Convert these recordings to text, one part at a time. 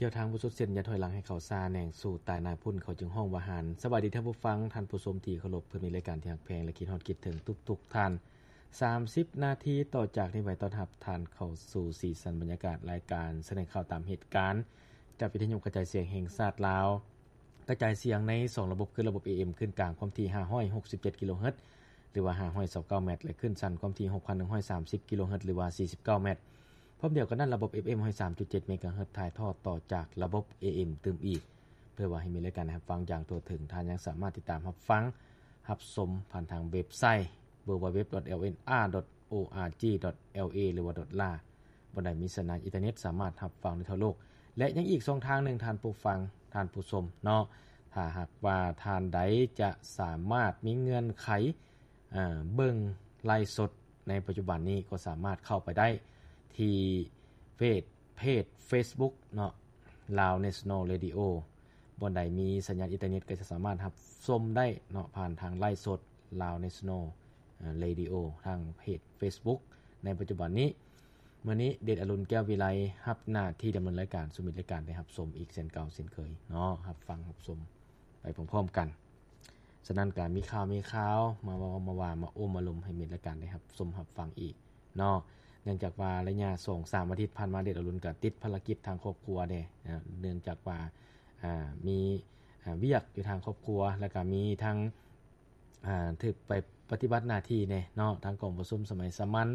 ດຽວທາງບໍ່ສຸດເສັ້ນ ຢ່າຖອຍຫຼັງໃຫ້ເຂົ້າຊ້າ ແໜງສູ້ຕາຍໜ້າພຸ້ນ ເຂົາຈຶ່ງຮ້ອງວ່າຫານ. ສະບາຍດີທ່ານຜູ້ຟັງ, ທ່ານຜູ້ຊົມທີ່ເຄົາລົບ, ເພື່ອມີລາຍການທີ່ຮັກແພງ ແລະ ຄິດຮອດຄິດເຖິງທຸກໆທ່ານ. ສາມສິບນາທີຕໍ່ຈາກນີ້ໄປ ຕ້ອນຮັບທ່ານເຂົ້າສູ່ສີສັນບັນຍາກາດ ລາຍການສະແດງຂ່າວຕາມເຫດການ ຈາກວິທະຍຸກະຈາຍສຽງແຫ່ງຊາດລາວ. ກະຈາຍສຽງໃນສອງລະບົບ ຄືລະບົບ ເອເອັມ ຄື້ນກາງຄວາມຖີ່ ຫ້າຮ້ອຍຫົກສິບເຈັດ ກິໂລເຮີດ ຫຼືວ່າ ຫ້າຮ້ອຍຊາວເກົ້າ ແມັດ ແລະ ຄື້ນສັ້ນຄວາມຖີ່ ຫົກພັນໜຶ່ງຮ້ອຍສາມສິບ ກິໂລເຮີດ ຫຼືວ່າ ສີ່ສິບເກົ້າ ແມັດ. ພ້ອມດຽວກັນນັ້ນ ລະບົບ ເອັຟເອັມ ຮ້ອຍສາມຈຸດເຈັດ ເມກາເຮີດ ຖ່າຍທອດຕໍ່ຈາກລະບົບ ເອເອັມ ຕື່ມອີກ ເພື່ອວ່າໃຫ້ມີລາຍການໃຫ້ຮັບຟັງຢ່າງທົ່ວເຖິງ. ທ່ານຍັງສາມາດຕິດຕາມຮັບຟັງ ຮັບຊົມຜ່ານທາງເວັບໄຊ ดัບເບິນຢູດັບເບິນຢູດັບເບິນຢູ ດອດ ໂອອາຈີ ດອດ ແອລເອ ຫຼືວ່າ ດອດ ລາ ບ່ອນໃດມີສັນຍານອິນເຕີເນັດ ສາມາດຮັບຟັງໄດ້ທົ່ວໂລກ. ແລະ ຍັງອີກຊ່ອງທາງໜຶ່ງ ທ່ານຜູ້ຟັງ, ທ່ານຜູ້ຊົມເນາະ, ຖ້າຫາກວ່າທ່ານໃດຈະສາມາດມີເງື່ອນໄຂ ເບິ່ງໄລຟ໌ສົດໃນປັດຈຸບັນນີ້ ກໍສາມາດເຂົ້າໄປໄດ້ທີ່ເຟສ ເຟສເຟສບຸກເນາະ Lao National Radio. ບ່ອນໃດມີສັນຍານອິນເຕີເນັດ ກໍຈະສາມາດຮັບຊົມໄດ້ເນາະ ຜ່ານທາງໄລຟ໌ສົດ Lao National Radio ທາງເພຈເຟສບຸກໃນປັດຈຸບັນນີ້. ມື້ນີ້ເດດອະລຸນ ແກ້ວວິໄລ ຮັບໜ້າທີ່ດຳເນີນລາຍການສູ່ມິດລາຍການໄດ້ຮັບຊົມອີກເຊັ່ນເກົ່າເຊັ່ນເຄີຍເນາະ, ຮັບຟັງຮັບຊົມໄປພ້ອມໆກັນ. ສະນັ້ນກະມີຂ່າວມີຄາວມາເວົ້າມາວ່າມາໂອ້ມາລົມໃຫ້ມິດລາຍການໄດ້ຮັບຊົມຮັບຟັງອີກເນາະ. ເນື່ອງຈາກວ່າໄລຍະສອງສາມອາທິດຜ່ານມາ ເດດອະລຸນກະຕິດພາລະກິດທາງຄອບຄົວແດ່, ເນື່ອງຈາກວ່າ ອ່າ ມີ ອ່າ ວຽກຢູ່ທາງຄອບຄົວ ແລ້ວກະມີທັງ ອ່າ ຖືກໄປປະຕິບັດໜ້າທີ່ແດ່ເນາະ, ທາງກອງປະຊຸມສະໄໝສາມັນ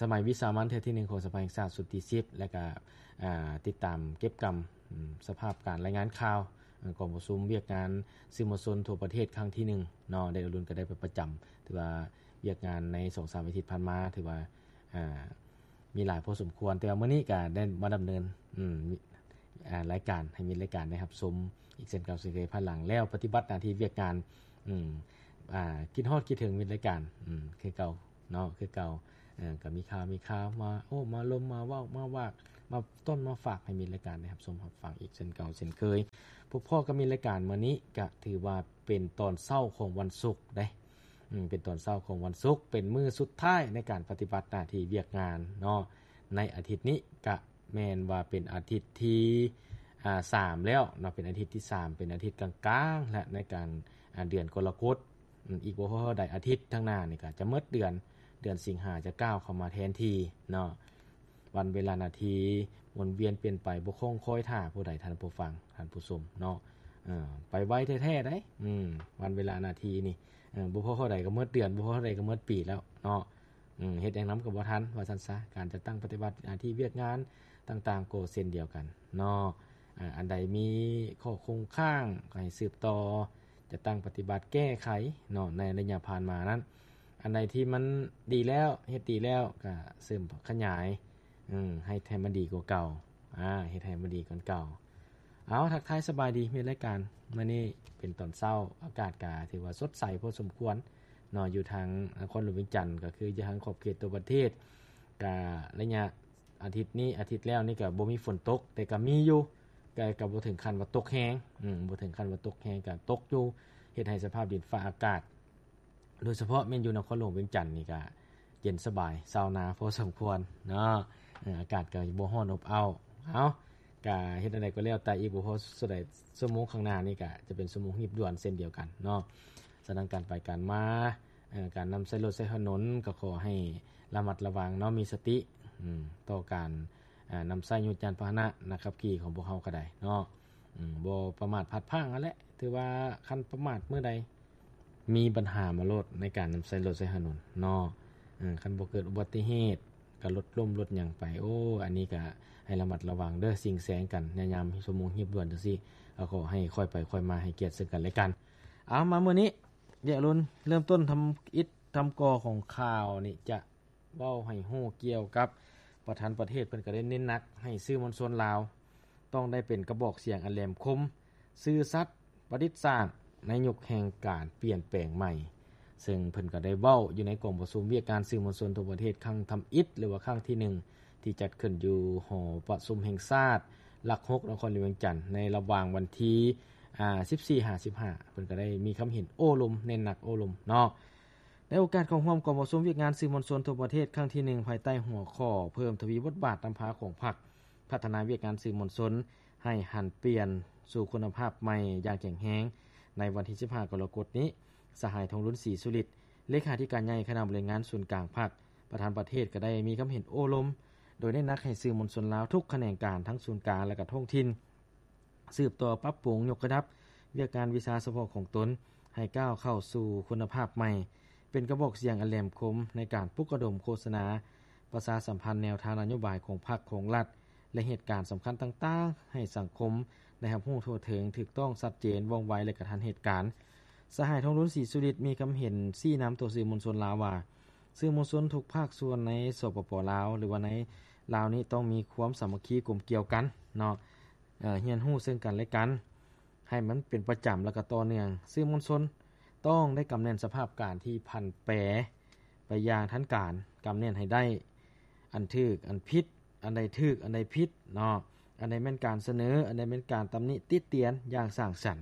ສະໄໝວິສາມັນເທື່ອທີໜຶ່ງຂອງສະພາແຫ່ງຊາດຊຸດທີສິບ ແລ້ວກະ ອ່າ ຕິດຕາມເກັບກຳ ອາ ສະພາບການລາຍງານຂ່າວ ອາ ກອງປະຊຸມວຽກງານສື່ມວນຊົນທົ່ວປະເທດຄັ້ງທີໜຶ່ງເນາະ, ໄດ້ ອາລຸນກໍໄດ້ໄປປະຈຳ. ຖືວ່າວຽກງານໃນສອງສາມອາທິດຜ່ານມາ ຖືວ່າ ອ່າ ມີຫຼາຍພໍສົມຄວນ, ແຕ່ວ່າມື້ນີ້ກໍໄດ້ມາດຳເນີນ ອາ ອ່າ ລາຍການ ໃຫ້ມິດລາຍການໄດ້ຮັບຊົມອີກເຊັ່ນເກົ່າເຊັ່ນເຄີຍ ພາຍຫຼັງແລ້ວປະຕິບັດໜ້າທີ່ວຽກງານ ອາ ຄິດຮອດຄິດເຖິງມິດລາຍການ ອາ ຄືເກົ່າເນາະ ຄືເກົ່າ. ເອີ ກໍມີຂ່າວ ມີຂ່າວມາໂອ້ມາລົມ ມາເວົ້າ ມາວາກ ມາຕົ້ນມາຝາກໃຫ້ມິດລາຍການໄດ້ຮັບຊົມຮັບຟັງອີກເຊັ່ນເກົ່າເຊັ່ນເຄີຍ. ພົບພໍ້ກັບມິດລາຍການມື້ນີ້ ກະຖືວ່າເປັນຕອນເຊົ້າຂອງວັນສຸກເດ້. ອືມ ເປັນຕອນເຊົ້າຂອງວັນສຸກ ເປັນມື້ສຸດທ້າຍໃນການປະຕິບັດໜ້າທີ່ວຽກງານເນາະ ໃນອາທິດນີ້. ກະແມ່ນວ່າເປັນອາທິດທີ ອ່າ ສາມແລ້ວເນາະ, ເປັນອາທິດທີສາມ ເປັນອາທິດກາງໆ ແລະ ໃນການ ອ່າ ເດືອນກໍລະກົດ. ອືມ ອີກບໍ່ພໍເທົ່າໃດອາທິດທາງໜ້ານີ້ກໍຈະໝົດເດືອນ ເດືອນສິງຫາຈະກ້າວເຂົ້າມາແທນທີ່ເນາະ. ວັນເວລານາທີໝູນວຽນປ່ຽນໄປ ບໍ່ຄົງຄອຍຖ້າຜູ້ໃດ ທ່ານຜູ້ຟັງ ທ່ານຜູ້ຊົມເນາະ. ເອີ ໄປໄວແທ້ໆ ໄດ໋ ອືມ ວັນເວລານາທີນີ້ ເອີ ບໍ່ພໍເທົ່າໃດກໍໝົດເດືອນ ບໍ່ພໍເທົ່າໃດກໍໝົດປີແລ້ວເນາະ. ອືມ ເຮັດຫຍັງນຳກໍບໍ່ທັນ ວ່າຊັ້ນຊະ. ການຈັດຕັ້ງປະຕິບັດໜ້າທີ່ວຽກງານຕ່າງໆ ກໍເຊັ່ນດຽວກັນເນາະ. ອາ ອັນໃດມີຂໍ້ຄົງຄ້າງ ກໍໃຫ້ສືບຕໍ່ ຈັດຕັ້ງປະຕິບັດແກ້ໄຂເນາະ ໃນໄລຍະຜ່ານມານັ້ນ. ອັນໃດທີ່ມັນດີແລ້ວ ເຮັດດີແລ້ວ ກະເສີມຂະຫຍາຍ ເອີ ໃຫ້ ໃຫ້ມັນດີກວ່າເກົ່າ ອາ ເຮັດໃຫ້ມັນດີກວ່າເກົ່າ. ເອົາ ທັກທາຍສະບາຍດີມິດລາຍການ, ມື້ນີ້ເປັນຕອນເຊົ້າ ອາກາດກະຖືວ່າສົດໃສພໍສົມຄວນເນາະ ຢູ່ທາງນະຄອນຫຼວງວຽງຈັນ ກໍຄືຢູ່ທາງຂອບເຂດຕົວປະເທດ. ກະໄລຍະອາທິດນີ້ ອາທິດແລ້ວນີ້ກະບໍ່ມີຝົນຕົກ ແຕ່ກະມີຢູ່ ກະ ກະບໍ່ເຖິງຂັ້ນວ່າຕົກແຮງ ອືມ ບໍ່ເຖິງຂັ້ນວ່າຕົກແຮງ ກະຕົກຢູ່ ເຮັດໃຫ້ສະພາບດິນຟ້າອາກາດ ໂດຍສະເພາະແມ່ນຢູ່ນະຄອນຫຼວງວຽງຈັນນີ້ກະເຢັນສະບາຍ ຊາວນາພໍສົມຄວນເນາະ. ເອີ ອາກາດກໍບໍ່ຮ້ອນອົບເອົ້າ. ເອົາ ກະເຮັດແນວໃດກໍແລ້ວແຕ່ ອີກບໍ່ພໍເທົ່າໃດຊົ່ວໂມງຂ້າງໜ້ານີ້ກະຈະເປັນຊົ່ວໂມງຮີບດ່ວນເຊັ່ນດຽວກັນເນາະ. ສະນັ້ນການໄປການມາ ເອີ ການນຳໃຊ້ລົດໃຊ້ຖະໜົນກໍຂໍໃຫ້ລະມັດລະວັງເນາະ ມີສະຕິ ອືມ ຕໍ່ການ ອ່າ ນຳໃຊ້ຍານພາຫະນະ ນັກຂັບຂີ່ຂອງພວກເຮົາກໍໄດ້ເນາະ. ອືມ ບໍ່ປະໝາດພາດພລັ້ງຫັ້ນແຫຼະ. ຖືວ່າຄັນປະໝາດມື້ໃດ ມີບັນຫາມາໂລດໃນການນຳໃຊ້ລົດໃຊ້ຖະໜົນເນາະ. ເອີ ຄັນບໍ່ເກີດອຸບັດຕິເຫດ ກໍລົດລົ້ມລົດຫຍັງໄປ ໂອ້ ອັນນີ້ກໍໃຫ້ລະມັດລະວັງເດີ. ສິງແສງກັນໃນຍາມຊົ່ວໂມງຮີບດ່ວນຈັ່ງຊີ້ ກໍຂໍໃຫ້ຄ່ອຍໄປຄ່ອຍມາ ໃຫ້ກຽດເຊິ່ງກັນແລະກັນ. ເອົາ ມາມື້ນີ້ ດຽວລຸນເລີ່ມຕົ້ນທຳອິດທຳກໍ່ຂອງຂ່າວນີ້ ຈະເວົ້າໃຫ້ຮູ້ກ່ຽວກັບປະທານປະເທດ ເພິ່ນກໍໄດ້ເນັ້ນໜັກໃຫ້ສື່ມວນຊົນລາວ ຕ້ອງໄດ້ເປັນກະບອກສຽງອັນແຫຼມຄົມ, ຊື່ສັດ, ປະດິດສາດ ໃນຍຸກແຫ່ງການປ່ຽນແປງໃໝ່. ເຊິ່ງເພິ່ນກໍໄດ້ເວົ້າຢູ່ໃນກອງປະຊຸມວຽກງານສື່ມວນຊົນທົ່ວປະເທດຄັ້ງທຳອິດ ຫຼືວ່າຄັ້ງທີໜຶ່ງ ທີ່ຈັດຂຶ້ນຢູ່ຫໍປະຊຸມແຫ່ງຊາດຫຼັກຫົກ ນະຄອນຫຼວງວຽງຈັນ ໃນລະຫວ່າງວັນທີ ອ່າ ສິບສີ່ ຫາ ສິບຫ້າ ເພິ່ນກໍໄດ້ມີຄຳເຫັນໂອ້ລົມ ເນັ້ນໜັກໂອ້ລົມເນາະ. ໃນໂອກາດເຂົ້າຮ່ວມກອງປະຊຸມວຽກງານສື່ມວນຊົນທົ່ວປະເທດຄັ້ງທີໜຶ່ງ ພາຍໃຕ້ຫົວຂໍ້ ເພີ່ມທະວີບົດບາດນຳພາຂອງພັກ ພັດທະນາວຽກງານສື່ມວນຊົນໃຫ້ຫັນປ່ຽນສູ່ຄຸນນະພາບໃໝ່ຢ່າງແຂງແຮງ. ໃນວັນທີສິບຫ້າ ກໍລະກົດນີ້, ສະຫາຍ ທອງລຸນ ສີສຸລິດ ເລຂາທິການໃຫຍ່ຄະນະບໍລິຫານງານສູນກາງພັກ ປະທານປະເທດ ກໍໄດ້ມີຄຳເຫັນໂອ້ລົມ ໂດຍເນັ້ນໜັກໃຫ້ສື່ມວນຊົນລາວທຸກຂະແໜງການ ທັງສູນກາງ ແລະ ກະທ້ອງຖິ່ນ ສືບຕໍ່ປັບປຸງຍົກລະດັບວຽກງານວິຊາສະເພາະຂອງຕົນ ໃຫ້ກ້າວເຂົ້າສູ່ຄຸນນະພາບໃໝ່, ເປັນກະບອກສຽງອັນແຫຼມຄົມໃນການປຸກລະດົມໂຄສະນາ ປະຊາສຳພັນແນວທາງນະໂຍບາຍຂອງພັກຂອງລັດ ແລະ ເຫດການສຳຄັນຕ່າງໆ ໃຫ້ສັງຄົມໄດ້ຮັບຮູ້ທົ່ວເຖິງ, ຖືກຕ້ອງ, ຊັດເຈນ, ວ່ອງໄວ ແລະ ກະທັນເຫດການ. ສະຫາຍ ທອງລຸນ ສີສຸລິດ ມີຄຳເຫັນຊີ້ນຳຕໍ່ສື່ມວນຊົນລາວວ່າ ສື່ມວນຊົນທຸກພາກສ່ວນໃນ ສປປ ລາວ ຫຼືວ່າໃນລາວນີ້ ຕ້ອງມີຄວາມສາມັກຄີກົມກຽວກັນເນາະ, ເອີ ຮຽນຮູ້ເຊິ່ງກັນແລະກັນ ໃຫ້ມັນເປັນປະຈຳ ແລະ ກໍຕໍ່ເນື່ອງ. ສື່ມວນຊົນຕ້ອງໄດ້ກຳແໜ້ນສະພາບການທີ່ຜັນແປໄປຢ່າງທັນການ, ກຳແໜ້ນໃຫ້ໄດ້ອັນຖືກອັນຜິດ, ອັນໃດຖືກ ອັນໃດຜິດເນາະ, ອັນໃດແມ່ນການສະເໜີ, ອັນໃດແມ່ນການຕຳໜິຕິຕຽນຢ່າງສ້າງສັນ,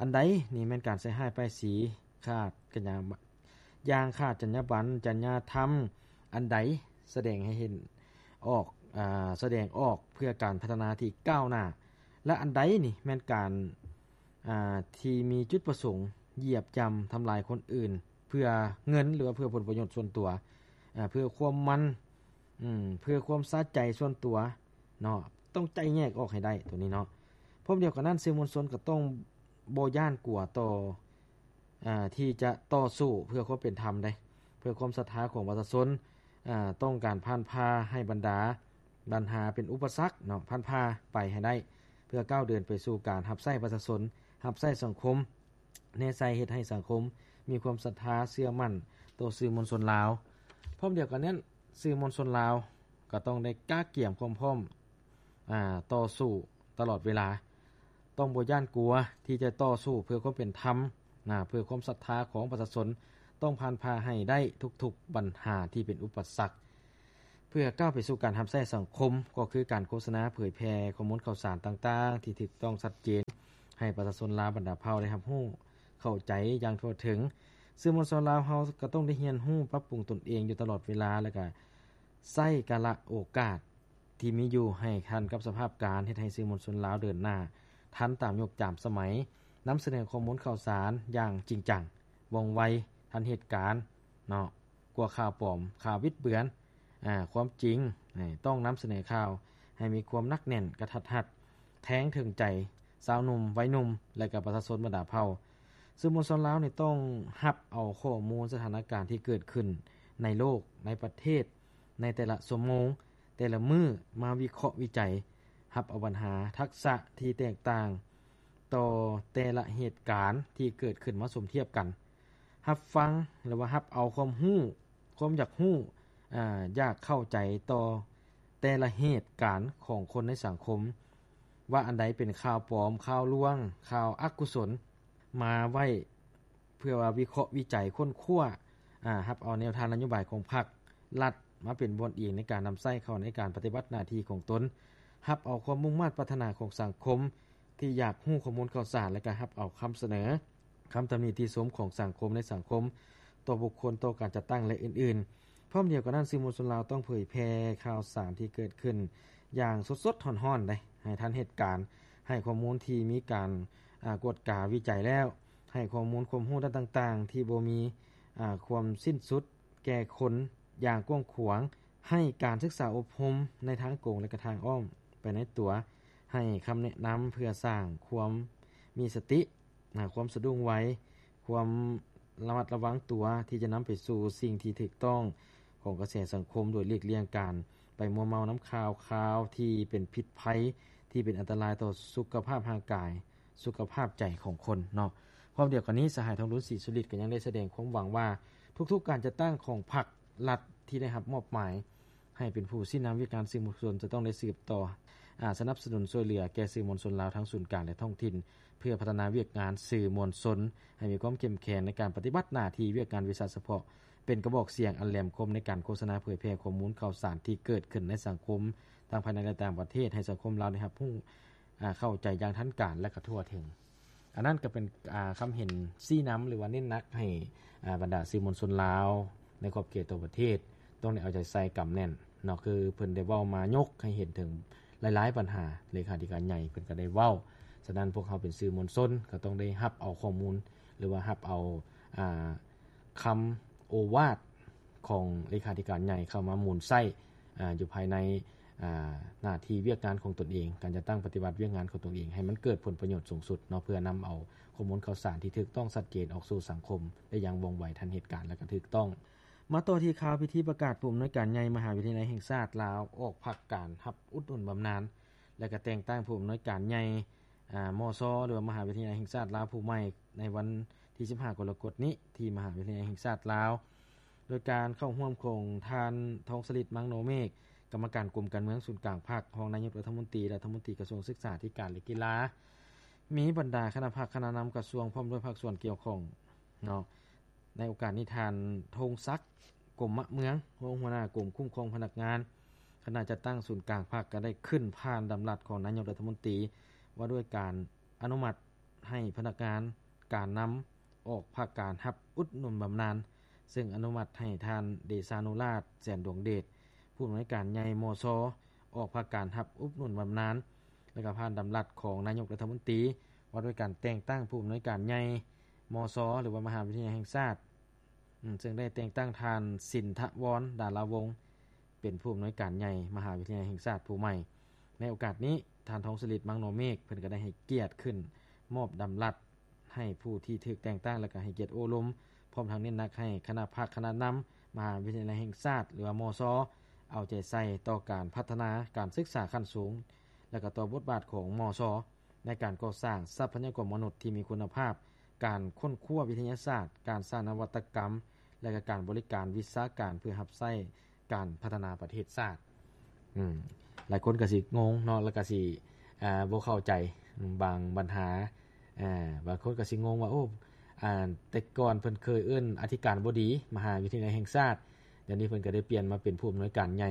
ອັນໃດນີ້ແມ່ນການໃສ່ຮ້າຍປ້າຍສີ, ຂາດກັນຍາ ຢ່າງຂາດຈັນຍາບັນ, ຈັນຍາທຳ, ອັນໃດສະແດງໃຫ້ເຫັນອອກ, ອາ, ສະແດງອອກເພື່ອການພັດທະນາທີ່ກ້າວໜ້າ, ແລະ ອັນໃດນີ້ແມ່ນການ, ອາ, ທີ່ມີຈຸດປະສົງຢຽບຢ່ຳທຳລາຍຄົນອື່ນ ເພື່ອເງິນ ຫຼືວ່າເພື່ອຜົນປະໂຫຍດສ່ວນຕົວ, ອາ, ເພື່ອຄວາມມັນ, ອາ, ເພື່ອຄວາມສະໃຈສ່ວນຕົວເນາະ, ຕ້ອງໄຈ້ແຍກອອກໃຫ້ໄດ້ໂຕນີ້ເນາະ. ພ້ອມດຽວກັນນັ້ນ, ສື່ມວນຊົນກໍຕ້ອງບໍ່ຢ້ານກົວຕໍ່ ອາ ທີ່ຈະຕໍ່ສູ້ເພື່ອຄວາມເປັນທຳເດ້, ເພື່ອຄວາມສັດທາຂອງປະຊາຊົນ, ອາ ຕ້ອງການຜ່ານຜ່າໃຫ້ບັນດາບັນຫາເປັນອຸປະສັກເນາະ, ຜ່ານຜ່າໄປໃຫ້ໄດ້, ເພື່ອກ້າວເດີນໄປສູ່ການຮັບໃຊ້ປະຊາຊົນ, ຮັບໃຊ້ສັງຄົມ, ແນໃສ່ເຮັດໃຫ້ສັງຄົມມີຄວາມສັດທາເຊື່ອໝັ້ນຕໍ່ສື່ມວນຊົນລາວ. ພ້ອມດຽວກັນນັ້ນ, ສື່ມວນຊົນລາວກໍຕ້ອງໄດ້ກະກຽມຄວາມພ້ອມ, ອາ, ຕໍ່ສູ້ຕະຫຼອດເວລາ. ຕ້ອງບໍ່ຢ້ານກົວທີ່ຈະຕໍ່ສູ້ເພື່ອຄວາມເປັນທຳນະ, ເພື່ອຄວາມສັດທາຂອງປະຊາຊົນ, ຕ້ອງຜ່ານຜ່າໃຫ້ໄດ້ທຸກໆບັນຫາທີ່ເປັນອຸປະສັກ ເພື່ອກ້າວໄປສູ່ການຮັບໃຊ້ສັງຄົມ, ກໍຄືການໂຄສະນາເຜີຍແຜ່ຂໍ້ມູນຂ່າວສານຕ່າງໆທີ່ຖືກຕ້ອງຊັດເຈນ ໃຫ້ປະຊາຊົນລາວບັນດາເຜົ່າໄດ້ຮັບຮູ້ເຂົ້າໃຈຢ່າງທົ່ວເຖິງ. ສື່ມວນຊົນລາວເຮົາກໍຕ້ອງໄດ້ຮຽນຮູ້ປັບປຸງຕົນເອງຢູ່ຕະຫຼອດເວລາ ແລະ ກະໃຊ້ກາລະໂອກາດ ທີ່ມີຢູ່ໃຫ້ທັນກັບສະພາບການ, ເຮັດໃຫ້ສື່ມວນຊົນລາວເດີນໜ້າທັນຕາມຍຸກຕາມສະໄໝ, ນຳສະເໜີຂໍ້ມູນຂ່າວສານຢ່າງຈິງຈັງ, ວ່ອງໄວ, ທັນເຫດການເນາະ, ກວ່າຂ່າວປອມ, ຂ່າວບິດເບືອນ, ອາ, ຄວາມຈິງ, ຕ້ອງນຳສະເໜີຂ່າວໃຫ້ມີຄວາມໜັກແໜ້ນ, ກະທັດຮັດ, ແທງເຖິງໃຈຊາວໜຸ່ມ, ໄວໜຸ່ມ ແລະ ກະປະຊາຊົນບັນດາເຜົ່າ. ສື່ມວນຊົນລາວນີ້ຕ້ອງຮັບເອົາຂໍ້ມູນສະຖານະການທີ່ເກີດຂຶ້ນໃນໂລກ, ໃນປະເທດ, ໃນແຕ່ລະຊົ່ວໂມງ, ແຕ່ລະມື້ມາວິເຄາະວິໄຈ, ຮັບເອົາບັນຫາ, ທັກສະທີ່ແຕກຕ່າງຕໍ່ແຕ່ລະເຫດການທີ່ເກີດຂຶ້ນມາສົມທຽບກັນ, ຮັບຟັງ ຫຼືວ່າຮັບເອົາຄວາມຮູ້, ຄວາມຢາກຮູ້, ອາ, ຢາກເຂົ້າໃຈຕໍ່ແຕ່ລະເຫດການຂອງຄົນໃນສັງຄົມ, ວ່າອັນໃດເປັນຂ່າວປອມ, ຂ່າວລວງ, ຂ່າວອະກຸສົນ, ມາໄວ້ ເພື່ອວ່າວິເຄາະວິໄຈຄົ້ນຄວ້າ, ອາ, ຮັບເອົາແນວທາງນະໂຍບາຍຂອງພັກລັດມາເປັນບ່ອນອີງໃນການນຳໃຊ້ເຂົ້າໃນການປະຕິບັດໜ້າທີ່ຂອງຕົນ, ຮັບເອົາຄວາມມຸ່ງມາດປາດຖະໜາຂອງສັງຄົມທີ່ຢາກຮູ້ຂໍ້ມູນຂ່າວສານ ແລະ ກະຮັບເອົາຄຳສະເໜີ, ຄຳຕຳໜິຕິຊົມຂອງສັງຄົມໃນສັງຄົມ, ຕໍ່ບຸກຄົນ, ຕໍ່ການຈັດຕັ້ງ ແລະ ອື່ນໆ. ພ້ອມດຽວກັນນັ້ນ, ສື່ມວນຊົນລາວຕ້ອງເຜີຍແຜ່ຂ່າວສານທີ່ເກີດຂຶ້ນຢ່າງສົດໆຮ້ອນໆເດ້, ໃຫ້ທັນເຫດການ, ໃຫ້ຂໍ້ມູນທີ່ມີການ, ອາ, ກວດກາວິໄຈແລ້ວ, ໃຫ້ຂໍ້ມູນຄວາມຮູ້ດ້ານຕ່າງໆທີ່ບໍ່ມີ, ອາ, ຄວາມສິ້ນສຸດແກ່ຄົນຢ່າງກວ້າງຂວາງ, ໃຫ້ການສຶກສາອົບຮົມໃນທາງກົງ ແລະ ກະທາງອ້ອມໄປໃນຕົວ, ໃຫ້ຄຳແນະນຳເພື່ອສ້າງຄວາມມີສະຕິ, ນະ, ຄວາມສະດຸ້ງໄວ, ຄວາມລະມັດລະວັງຕົວທີ່ຈະນຳໄປສູ່ສິ່ງທີ່ຖືກຕ້ອງຂອງກະແສສັງຄົມ, ໂດຍຫຼີກລ່ຽງການໄປມົວເມົານຳຂ່າວຄາວທີ່ເປັນພິດໄພ, ທີ່ເປັນອັນຕະລາຍຕໍ່ສຸຂະພາບຮ່າງກາຍ, ສຸຂະພາບໃຈຂອງຄົນເນາະ. ພ້ອມດຽວກັນນີ້, ສະຫາຍ ທອງລຸນ ສີສຸລິດ ກໍຍັງໄດ້ສະແດງຄວາມຫວັງວ່າ ທຸກໆການຈັດຕັ້ງຂອງພັກລັດທີ່ໄດ້ຮັບມອບໝາຍ ໃຫ້ເປັນຜູ້ຊີ້ນຳວຽກງານສື່ມວນຊົນ ຈະຕ້ອງໄດ້ສືບຕໍ່, ອາ, ສະໜັບສະໜູນຊ່ວຍເຫຼືອແກ່ສື່ມວນຊົນລາວທັງສູນກາງ ແລະ ທ້ອງຖິ່ນ ເພື່ອພັດທະນາວຽກງານສື່ມວນຊົນໃຫ້ມີຄວາມເຂັ້ມແຂງໃນການປະຕິບັດໜ້າທີ່ວຽກງານວິຊາສະເພາະ, ເປັນກະບອກສຽງອັນແຫຼມຄົມໃນການໂຄສະນາເຜີຍແຜ່ຂໍ້ມູນຂ່າວສານທີ່ເກີດຂຶ້ນໃນສັງຄົມ ທັງພາຍໃນ ແລະ ຕ່າງປະເທດ ໃຫ້ສັງຄົມລາວໄດ້ຮັບຮູ້, ອາ, ເຂົ້າໃຈຢ່າງທັນການ ແລະ ກະທົ່ວເຖິງ. ອັນນັ້ນກໍເປັນ, ອາ, ຄຳເຫັນຊີ້ນຳ ຫຼືວ່າເນັ້ນໜັກໃຫ້, ອາ, ບັນດາສື່ມວນຊົນລາວໃນຂອບເຂດທົ່ວປະເທດ ຕ້ອງໄດ້ເອົາໃຈໃສ່ກຳແໜ້ນເນາະ, ຄືເພິ່ນໄດ້ເວົ້າມາຍົກໃຫ້ເຫັນເຖິງ ຫຼາຍໆບັນຫາ ເລຂາທິການໃຫຍ່ເພິ່ນກໍໄດ້ເວົ້າ. ສະນັ້ນ ພວກເຮົາເປັນສື່ມວນຊົນກໍຕ້ອງໄດ້ຮັບເອົາຂໍ້ມູນ ຫຼືວ່າຮັບເອົາ ອາ ຄຳໂອວາດຂອງເລຂາທິການໃຫຍ່ເຂົ້າມາໝູນໃຊ້ ອາ ຢູ່ພາຍໃນ ອາ ໜ້າທີ່ວຽກງານຂອງຕົນເອງ, ການຈັດຕັ້ງປະຕິບັດວຽກງານຂອງຕົນເອງ ໃຫ້ມັນເກີດຜົນປະໂຫຍດສູງສຸດເນາະ, ເພື່ອນຳເອົາຂໍ້ມູນຂ່າວສານທີ່ຖືກຕ້ອງຊັດເຈນອອກສູ່ສັງຄົມໄດ້ຢ່າງວ່ອງໄວ, ທັນເຫດການ ແລະ ກໍຖືກຕ້ອງ. ມາຕໍ່ທີ່ຂ່າວພິທີປະກາດຜູ້ອຳນວຍການໃຫຍ່ມະຫາວິທະຍາໄລແຫ່ງຊາດລາວ ອອກພັກການຮັບອຸດໜູນບຳນານ ແລະ ກໍແຕ່ງຕັ້ງຜູ້ອຳນວຍການໃຫຍ່ ອາ ມຊ ຫຼືວ່າມະຫາວິທະຍາໄລແຫ່ງຊາດລາວຜູ້ໃໝ່ ໃນວັນທີສິບຫ້າກໍລະກົດນີ້ ທີ່ມະຫາວິທະຍາໄລແຫ່ງຊາດລາວ ໂດຍການເຂົ້າຮ່ວມຂອງທ່ານ ທອງສະລິດ ມັງໂນເມກ ກຳມະການກົມການເມືອງສູນກາງພັກ, ຮອງນາຍົກລັດຖະມົນຕີ, ລັດຖະມົນຕີກະຊວງສຶກສາທິການ ແລະ ກິລາ, ມີບັນດາຄະນະພັກຄະນະນຳກະຊວງ ພ້ອມດ້ວຍພາກສ່ວນກ່ຽວຂ້ອງເນາະ. ໃນໂອກາດນີ້ ທ່ານ ທົງສັກ ກົມມະເມືອງ ຮອງຫົວໜ້າກົມຄຸ້ມຄອງພະນັກງານ ຄະນະຈັດຕັ້ງສູນກາງພັກ ກໍໄດ້ຂຶ້ນຜ່ານດຳລັດຂອງນາຍົກລັດຖະມົນຕີ ວ່າດ້ວຍການອະນຸມັດໃຫ້ພະນັກງານການນຳອອກພັກການຮັບອຸດໜູນບຳນານ, ເຊິ່ງອະນຸມັດໃຫ້ທ່ານ ເດຊານຸລາດ ແສນດວງເດດ ຜູ້ອຳນວຍການໃຫຍ່ ມຊ ອອກພັກການຮັບອຸດໜູນບຳນານ ແລະ ກໍຜ່ານດຳລັດຂອງນາຍົກລັດຖະມົນຕີ ວ່າດ້ວຍການແຕ່ງຕັ້ງຜູ້ອຳນວຍການໃຫຍ່ ມຊ ຫຼືວ່າມະຫາວິທະຍາໄລແຫ່ງຊາດ ອືມ ເຊິ່ງໄດ້ແຕ່ງຕັ້ງທ່ານ ສິນທະວອນ ດາລາວົງ ເປັນຜູ້ອຳນວຍການໃຫຍ່ມະຫາວິທະຍາໄລແຫ່ງຊາດຜູ້ໃໝ່. ໃນໂອກາດນີ້ ທ່ານ ທອງສະລິດ ມັງໂນເມກ ເພິ່ນກໍໄດ້ໃຫ້ກຽດຂຶ້ນມອບດຳລັດໃຫ້ຜູ້ທີ່ຖືກແຕ່ງຕັ້ງ ແລະ ກໍໃຫ້ກຽດໂອ້ລົມ, ພ້ອມທັງເນັ້ນໜັກໃຫ້ຄະນະພັກຄະນະນຳມະຫາວິທະຍາໄລແຫ່ງຊາດ ຫຼືວ່າ ມຊ ເອົາໃຈໃສ່ຕໍ່ການພັດທະນາການສຶກສາຂັ້ນສູງ ແລະ ກໍຕໍ່ບົດບາດຂອງ ມຊ ໃນການກໍ່ສ້າງຊັບພະຍາກອນມະນຸດທີ່ມີຄຸນນະພາບ, ການຄົ້ນຄວ້າວິທະຍາສາດ, ການສ້າງນະວັດຕະກຳ ແລະ ກະການບໍລິການວິຊາການເພື່ອຮັບໃຊ້ການພັດທະນາປະເທດຊາດ. ອືມ ຫຼາຍຄົນກໍຊິງົງເນາະ ແລ້ວກໍຊິ ອາ ບໍ່ເຂົ້າໃຈ ອາ ບາງບັນຫາ. ອາ ບາງຄົນກໍຊິງົງວ່າ ໂອ້ ອາ ແຕ່ກ່ອນເພິ່ນເຄີຍເອີ້ນອະທິການບໍດີມະຫາວິທະຍາໄລແຫ່ງຊາດ, ດຽວນີ້ເພິ່ນກໍໄດ້ປ່ຽນມາເປັນຜູ້ອຳນວຍການໃຫຍ່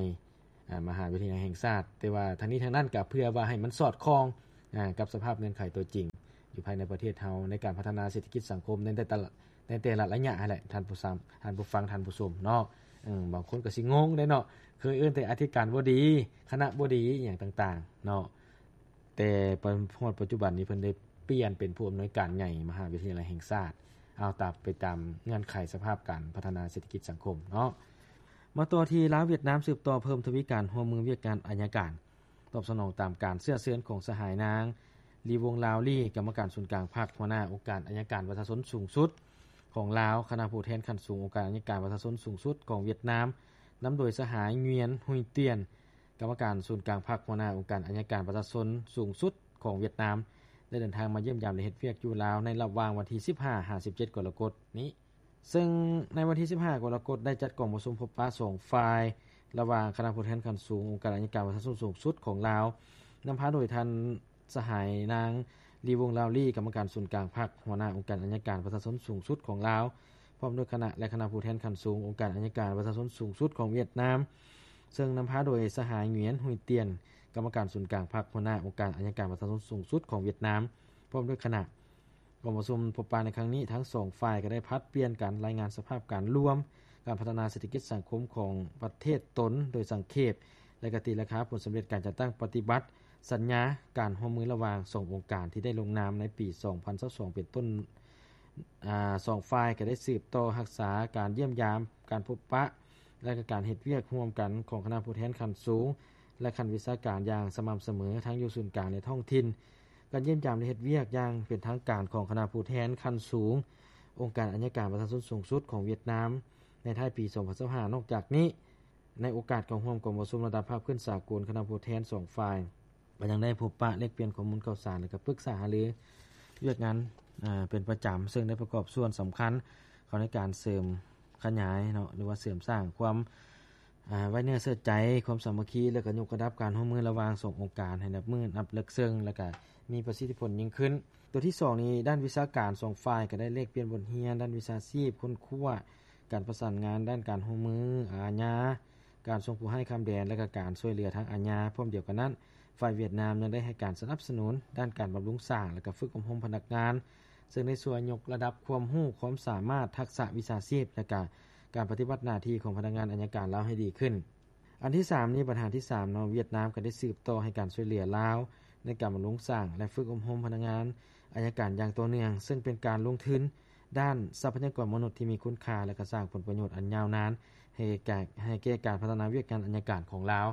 ອາ ມະຫາວິທະຍາໄລແຫ່ງຊາດ. ແຕ່ວ່າທັງນີ້ທັງນັ້ນກໍເພື່ອວ່າໃຫ້ມັນສອດຄ່ອງ ອາ ກັບສະພາບເງື່ອນໄຂຕົວຈິງຢູ່ພາຍໃນປະເທດເຮົາ ໃນການພັດທະນາເສດຖະກິດສັງຄົມໃນແຕ່ລະ ໃນແຕ່ລະໄລຍະຫັ້ນແຫຼະ ທ່ານຜູ້ຟັງ ທ່ານຜູ້ຟັງ ທ່ານຜູ້ຊົມເນາະ. ເອີ ບາງຄົນກໍຊິງົງເດ້ເນາະ, ເຄີຍເອີ້ນແຕ່ອະທິການບໍດີ, ຄະນະບໍດີ ອີ່ຫຍັງຕ່າງໆເນາະ, ແຕ່ມາຮອດປັດຈຸບັນນີ້ ເພິ່ນໄດ້ປ່ຽນເປັນຜູ້ອຳນວຍການໃຫຍ່ມະຫາວິທະຍາໄລແຫ່ງຊາດ. ເອົາ ຕາມ ໄປຕາມເງື່ອນໄຂສະພາບການພັດທະນາເສດຖະກິດສັງຄົມເນາະ. ມາຕໍ່ທີ່ລາວຫວຽດນາມ ສືບຕໍ່ເພີ່ມທະວີການຮ່ວມມືວຽກງານໄອຍະການ ຕອບສະໜອງຕາມການເຊື້ອເຊີນຂອງສະຫາຍນາງ ລີວົງລາວລີ ກຳມະການສູນກາງພັກ, ຫົວໜ້າອົງການໄອຍະການປະຊາຊົນສູງສຸດຂອງລາວ, ຄະນະຜູ້ແທນຂັ້ນສູງອົງການໄອຍະການປະຊາຊົນສູງສຸດຂອງຫວຽດນາມ ນຳໂດຍສະຫາຍ ງວຽນ ຮຸຍຕຽນ ກຳມະການສູນກາງພັກ, ຫົວໜ້າອົງການໄອຍະການປະຊາຊົນສູງສຸດຂອງຫວຽດນາມ ໄດ້ເດີນທາງມາຢ້ຽມຢາມ ແລະ ເຮັດວຽກຢູ່ລາວ ໃນລະຫວ່າງວັນທີສິບຫ້າ ຫາ ສິບເຈັດ ກໍລະກົດນີ້. ເຊິ່ງໃນວັນທີສິບຫ້າ ກໍລະກົດ ໄດ້ຈັດກອງປະຊຸມພົບປະສອງຝ່າຍ ລະຫວ່າງຄະນະຜູ້ແທນຂັ້ນສູງອົງການໄອຍະການປະຊາຊົນສູງສຸດຂອງລາວ ນຳພາໂດຍທ່ານສະຫາຍນາງ ລີວົງລາວລີ ກຳມະການສູນກາງພັກ, ຫົວໜ້າອົງການໄອຍະການປະຊາຊົນສູງສຸດຂອງລາວ ພ້ອມດ້ວຍຄະນະ ແລະ ຄະນະຜູ້ແທນຂັ້ນສູງອົງການໄອຍະການປະຊາຊົນສູງສຸດຂອງຫວຽດນາມ ເຊິ່ງນຳພາໂດຍສະຫາຍ ງວຽນ ຮຸຍຕຽນ ກຳມະການສູນກາງພັກ, ຫົວໜ້າອົງການໄອຍະການປະຊາຊົນສູງສຸດຂອງຫວຽດນາມ ພ້ອມດ້ວຍຄະນະ. ກອງປະຊຸມພົບປະໃນຄັ້ງນີ້ ທັງສອງຝ່າຍກໍໄດ້ຜັດປ່ຽນກັນລາຍງານສະພາບການລວມການພັດທະນາເສດຖະກິດສັງຄົມຂອງປະເທດຕົນໂດຍສັງເຂບ ແລະ ກະຕີລາຄາຜົນສຳເລັດການຈັດຕັ້ງປະຕິບັດສັນຍາການຮ່ວມມືລະຫວ່າງສອງອົງການທີ່ໄດ້ລົງນາມໃນປີສອງພັນຊາວສອງເປັນຕົ້ນ. ອາ ສອງຝ່າຍກໍໄດ້ສືບຕໍ່ຮັກສາການຢ້ຽມຢາມ, ການພົບປະ ແລະ ກະການເຮັດວຽກຮ່ວມກັນຂອງຄະນະຜູ້ແທນຂັ້ນສູງ ແລະ ຂັ້ນວິຊາການຢ່າງສະໝ່ຳສະເໝີ ທັງຢູ່ສູນກາງ ແລະ ທ້ອງຖິ່ນ. ການຢ້ຽມຢາມ ແລະ ເຮັດວຽກຢ່າງເປັນທາງການຂອງຄະນະຜູ້ແທນຂັ້ນສູງອົງການໄອຍະການປະຊາຊົນສູງສຸດຂອງຫວຽດນາມ ໃນທ້າຍປີສອງພັນຊາວຫ້າ. ນອກຈາກນີ້, ໃນໂອກາດເຂົ້າຮ່ວມກອງປະຊຸມລະດັບພາກພື້ນສາກົນ, ຄະນະຜູ້ແທນສອງຝ່າຍ ກໍຍັງໄດ້ພົບປະແລກປ່ຽນຂໍ້ມູນຂ່າວສານ ແລະ ກໍປຶກສາຫາລືວຽກງານ ອາ ເປັນປະຈຳ, ເຊິ່ງໄດ້ປະກອບສ່ວນສຳຄັນເຂົ້າໃນການເສີມຂະຫຍາຍເນາະ ຫຼືວ່າເສີມສ້າງຄວາມ ອາ ໄວ້ເນື້ອເຊື່ອໃຈ, ຄວາມສາມັກຄີ ແລະ ກໍຍົກລະດັບການຮ່ວມມືລະຫວ່າງສອງອົງການໃຫ້ນັບມື້ນັບເລິກເຊິ່ງ ແລະ ກໍມີປະສິດທິຜົນຍິ່ງຂຶ້ນ. ຕົວທີສອງນີ້ ດ້ານວິຊາການ ສອງຝ່າຍກໍໄດ້ແລກປ່ຽນບົດຮຽນດ້ານວິຊາຊີບ, ຄົ້ນຄວ້າການປະສານງານດ້ານການຮ່ວມມືອາຍາ, ການສົ່ງຜູ້ຮ້າຍຂ້າມແດນ ແລະ ກະການຊ່ວຍເຫຼືອທາງອາຍາ. ພ້ອມດຽວກັນນັ້ນ, ຝ່າຍຫວຽດນາມຍັງໄດ້ໃຫ້ການສະໜັບສະໜູນດ້ານການບຳລຸງສ້າງ ແລະ ກະຝຶກອົບຮົມພະນັກງານ, ເຊິ່ງໄດ້ຊ່ວຍຍົກລະດັບຄວາມຮູ້ຄວາມສາມາດ, ທັກສະວິຊາຊີບ ແລະ ກະການປະຕິບັດໜ້າທີ່ຂອງພະນັກງານໄອຍະການລາວໃຫ້ດີຂຶ້ນ. ອັນທີສາມນີ້ ບັນຫາທີສາມເນາະ ຫວຽດນາມກໍໄດ້ສືບຕໍ່ໃຫ້ການຊ່ວຍເຫຼືອລາວໃນການບຳລຸງສ້າງ ແລະ ຝຶກອົບຮົມພະນັກງານອັຍການຢ່າງຕໍ່ເນື່ອງ, ເຊິ່ງເປັນການລົງທຶນດ້ານຊັບພະຍາກອນມະນຸດທີ່ມີຄຸນຄ່າ ແລະ ກໍສ້າງຜົນປະໂຫຍດອັນຍາວນານໃຫ້ແກ່ ໃຫ້ແກ່ການພັດທະນາວຽກງານອັຍການຂອງລາວ.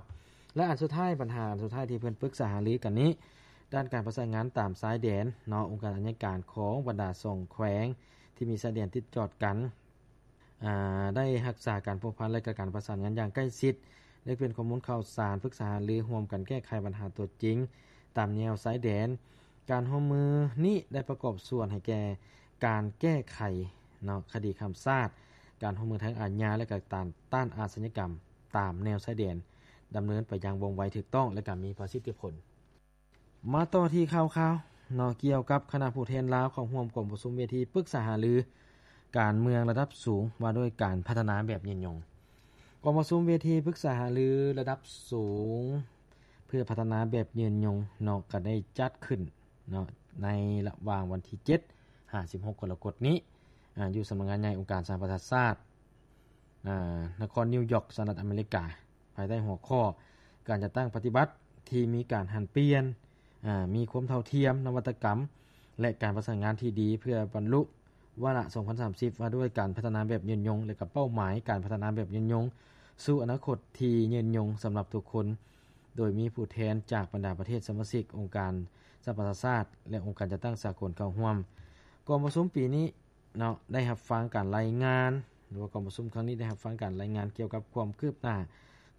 ແລະ ອັນສຸດທ້າຍ ບັນຫາອັນສຸດທ້າຍທີ່ເພິ່ນປຶກສາຫາລືກັນນີ້ ດ້ານການປະສານງານຕາມຊາຍແດນເນາະ, ອົງການອັຍການຂອງບັນດາສອງແຂວງທີ່ມີຊາຍແດນຕິດຈອດກັນ ອາ ໄດ້ຮັກສາການພົວພັນ ແລະ ກະການປະສານງານຢ່າງໃກ້ຊິດ ແລະ ເປັນຂໍ້ມູນຂ່າວສານ, ປຶກສາຫາລື, ຮ່ວມກັນແກ້ໄຂບັນຫາຕົວຈິງຕາມແນວຊາຍແດນ. ການຮ່ວມມືນີ້ໄດ້ປະກອບສ່ວນໃຫ້ແກ່ການແກ້ໄຂເນາະ ຄະດີຂ້າມຊາດ, ການຮ່ວມມືທາງອາຍາ ແລະ ກະຕ້ານ ຕ້ານອາຊະຍາກຳຕາມແນວຊາຍແດນ ດຳເນີນໄປຢ່າງວ່ອງໄວ, ຖືກຕ້ອງ ແລະ ກະມີປະສິດທິຜົນ. ມາຕໍ່ທີ່ຂ່າວຄາວເນາະ ກ່ຽວກັບຄະນະຜູ້ແທນລາວເຂົ້າຮ່ວມກອງປະຊຸມເວທີປຶກສາຫາລືການເມືອງລະດັບສູງ ວ່າດ້ວຍການພັດທະນາແບບຍືນຍົງ. ກອງປະຊຸມເວທີປຶກສາຫາລືລະດັບສູງເພື່ອພັດທະນາແບບຍືນຍົງເນາະ ກໍໄດ້ຈັດຂຶ້ນເນາະ ໃນລະຫວ່າງວັນທີເຈັດ ຫາ ສິບຫົກ ກໍລະກົດນີ້ ອາ ຢູ່ສຳນັກງານໃຫຍ່ອົງການສະຫະປະຊາຊາດ ອາ ນະຄອນນິວຢອກ ສະຫະລັດອາເມລິກາ ພາຍໃຕ້ຫົວຂໍ້ ການຈັດຕັ້ງປະຕິບັດທີ່ມີການຫັນປ່ຽນ ອາ ມີຄວາມເທົ່າທຽມ, ນະວັດຕະກຳ ແລະ ການປະສານງານທີ່ດີ ເພື່ອບັນລຸວາລະສອງພັນສາມສິບ ວ່າດ້ວຍການພັດທະນາແບບຍືນຍົງ ແລະ ກະເປົ້າໝາຍການພັດທະນາແບບຍືນຍົງສູ່ອະນາຄົດທີ່ຍືນຍົງສຳລັບທຸກຄົນ, ໂດຍມີຜູ້ແທນຈາກບັນດາປະເທດສະມາຊິກ ອົງການສະຫະປະຊາຊາດ ແລະ ອົງການຈັດຕັ້ງສາກົນເຂົ້າຮ່ວມ. ກອງປະຊຸມປີນີ້ ເນາະ ໄດ້ຮັບຟັງການລາຍງານ ຫຼືວ່າກອງປະຊຸມຄັ້ງນີ້ໄດ້ຮັບຟັງການລາຍງານກ່ຽວກັບຄວາມຄືບໜ້າ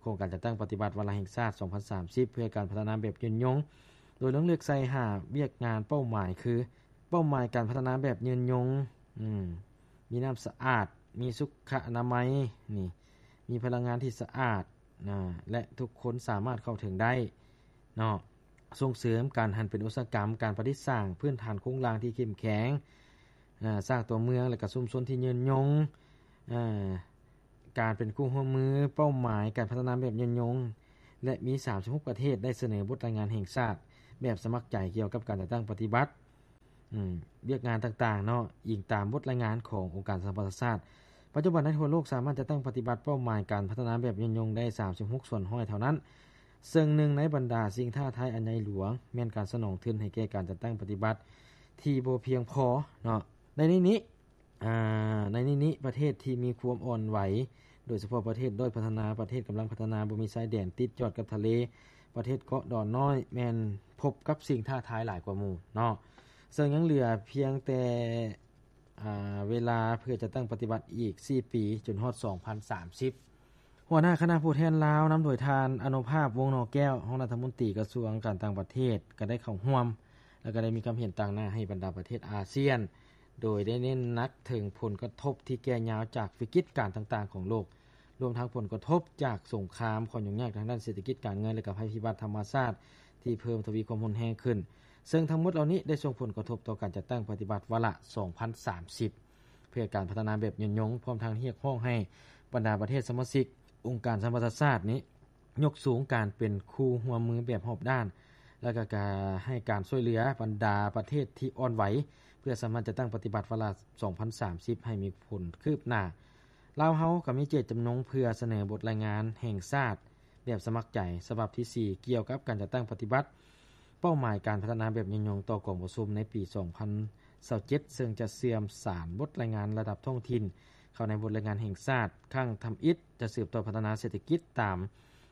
ໂຄງການຈັດຕັ້ງປະຕິບັດວາລະແຫ່ງຊາດສອງພັນສາມສິບ ເພື່ອການພັດທະນາແບບຍືນຍົງ, ໂດຍລົງເລືອກໃສ່ຫ້າວຽກງານເປົ້າໝາຍຄື ເປົ້າໝາຍການພັດທະນາແບບຍືນຍົງ ອືມ ມີນ້ຳສະອາດ, ມີສຸຂະອະນາໄມ ນີ້ ມີພະລັງງານທີ່ສະອາດ ນະ ແລະ ທຸກຄົນສາມາດເຂົ້າເຖິງໄດ້ເນາະ, ສົ່ງເສີມການຫັນເປັນອຸດສາຫະກຳ, ການປະດິດສ້າງພື້ນຖານໂຄງລ່າງທີ່ເຂັ້ມແຂງ, ນະ ສ້າງຕົວເມືອງ ແລະ ກະຊຸມຊົນທີ່ຍືນຍົງ, ນະ ການເປັນຄູ່ຮ່ວມມື, ເປົ້າໝາຍການພັດທະນາແບບຍືນຍົງ ແລະ ມີສາມສິບຫົກປະເທດໄດ້ສະເໜີບົດລາຍງານແຫ່ງຊາດແບບສະໝັກໃຈກ່ຽວກັບການຈັດຕັ້ງປະຕິບັດ ອືມ ວຽກງານຕ່າງໆເນາະ ອີງຕາມບົດລາຍງານຂອງອົງການສະຫະປະຊາຊາດ. ປັດຈຸບັນໃນທົ່ວໂລກສາມາດຈັດຕັ້ງປະຕິບັດເປົ້າໝາຍການພັດທະນາແບບຍືນຍົງໄດ້ສາມສິບຫົກສ່ວນຮ້ອຍເທົ່ານັ້ນ, ເຊິ່ງໜຶ່ງໃນບັນດາສິ່ງທ້າທາຍອັນໃຫຍ່ຫຼວງ ແມ່ນການສະໜອງທຶນໃຫ້ແກ່ການຈັດຕັ້ງປະຕິບັດທີ່ບໍ່ພຽງພໍເນາະ. ໃນນີ້ນີ້ ອາ ໃນນີ້ນີ້ ປະເທດທີ່ມີຄວາມອ່ອນໄຫວ ໂດຍສະເພາະປະເທດດ້ອຍພັດທະນາ, ປະເທດກຳລັງພັດທະນາ, ບໍ່ມີຊາຍແດນຕິດຈອດກັບທະເລ, ປະເທດເກາະດອນນ້ອຍ ແມ່ນພົບກັບສິ່ງທ້າທາຍຫຼາຍກວ່າໝູ່ເນາະ, ເຊິ່ງຍັງເຫຼືອພຽງແຕ່ ອາ ເວລາເພື່ອຈັດຕັ້ງປະຕິບັດອີກສີ່ປີ ຈົນຮອດສອງພັນສາມສິບ. ຫົວໜ້າຄະນະຜູ້ແທນລາວ ນຳໂດຍທ່ານ ອະນຸພາບ ວົງໜໍແກ້ວ ຮອງລັດຖະມົນຕີກະຊວງການຕ່າງປະເທດ ກໍໄດ້ເຂົ້າຮ່ວມ ແລະ ກໍໄດ້ມີຄຳເຫັນຕາງໜ້າໃຫ້ບັນດາປະເທດອາຊຽນ ໂດຍໄດ້ເນັ້ນໜັກເຖິງຜົນກະທົບທີ່ແກ່ຍາວຈາກວິກິດການຕ່າງໆຂອງໂລກ, ລວມທັງຜົນກະທົບຈາກສົງຄາມ, ຄວາມຫຍຸ້ງຍາກທາງດ້ານເສດຖະກິດການເງິນ ແລະ ກະໄພພິບັດທຳມະຊາດທີ່ເພີ່ມທະວີຄວາມຮຸນແຮງຂຶ້ນ, ເຊິ່ງທັງໝົດເຫຼົ່ານີ້ໄດ້ສົ່ງຜົນກະທົບຕໍ່ການຈັດຕັ້ງປະຕິບັດວາລະສອງພັນສາມສິບ ເພື່ອການພັດທະນາແບບຍືນຍົງ, ພ້ອມທັງຮຽກຮ້ອງໃຫ້ບັນດາປະເທດສະມາຊິກອົງການສະຫະປະຊາຊາດນີ້ ຍົກສູງການເປັນຄູ່ຮ່ວມມືແບບຮອບດ້ານ ແລະ ກະ ກະໃຫ້ການຊ່ວຍເຫຼືອບັນດາປະເທດທີ່ອ່ອນໄຫວ ເພື່ອສາມາດຈັດຕັ້ງປະຕິບັດວາລະສອງພັນສາມສິບໃຫ້ມີຜົນຄືບໜ້າ. ລາວເຮົາກໍມີເຈດຈຳນົງເພື່ອສະເໜີບົດລາຍງານແຫ່ງຊາດແບບສະໝັກໃຈສະບັບທີສີ່ ກ່ຽວກັບການຈັດຕັ້ງປະຕິບັດເປົ້າໝາຍການພັດທະນາແບບຍືນຍົງຕໍ່ກອງປະຊຸມໃນປີສອງພັນ ຊາວເຈັດ ເຊິ່ງຈະເຊື່ອມສານບົດລາຍງານລະດັບທ້ອງຖິ່ນເຂົ້າໃນບົດລາຍງານແຫ່ງຊາດຄັ້ງທຳອິດ, ຈະສືບຕໍ່ພັດທະນາເສດຖະກິດຕາມ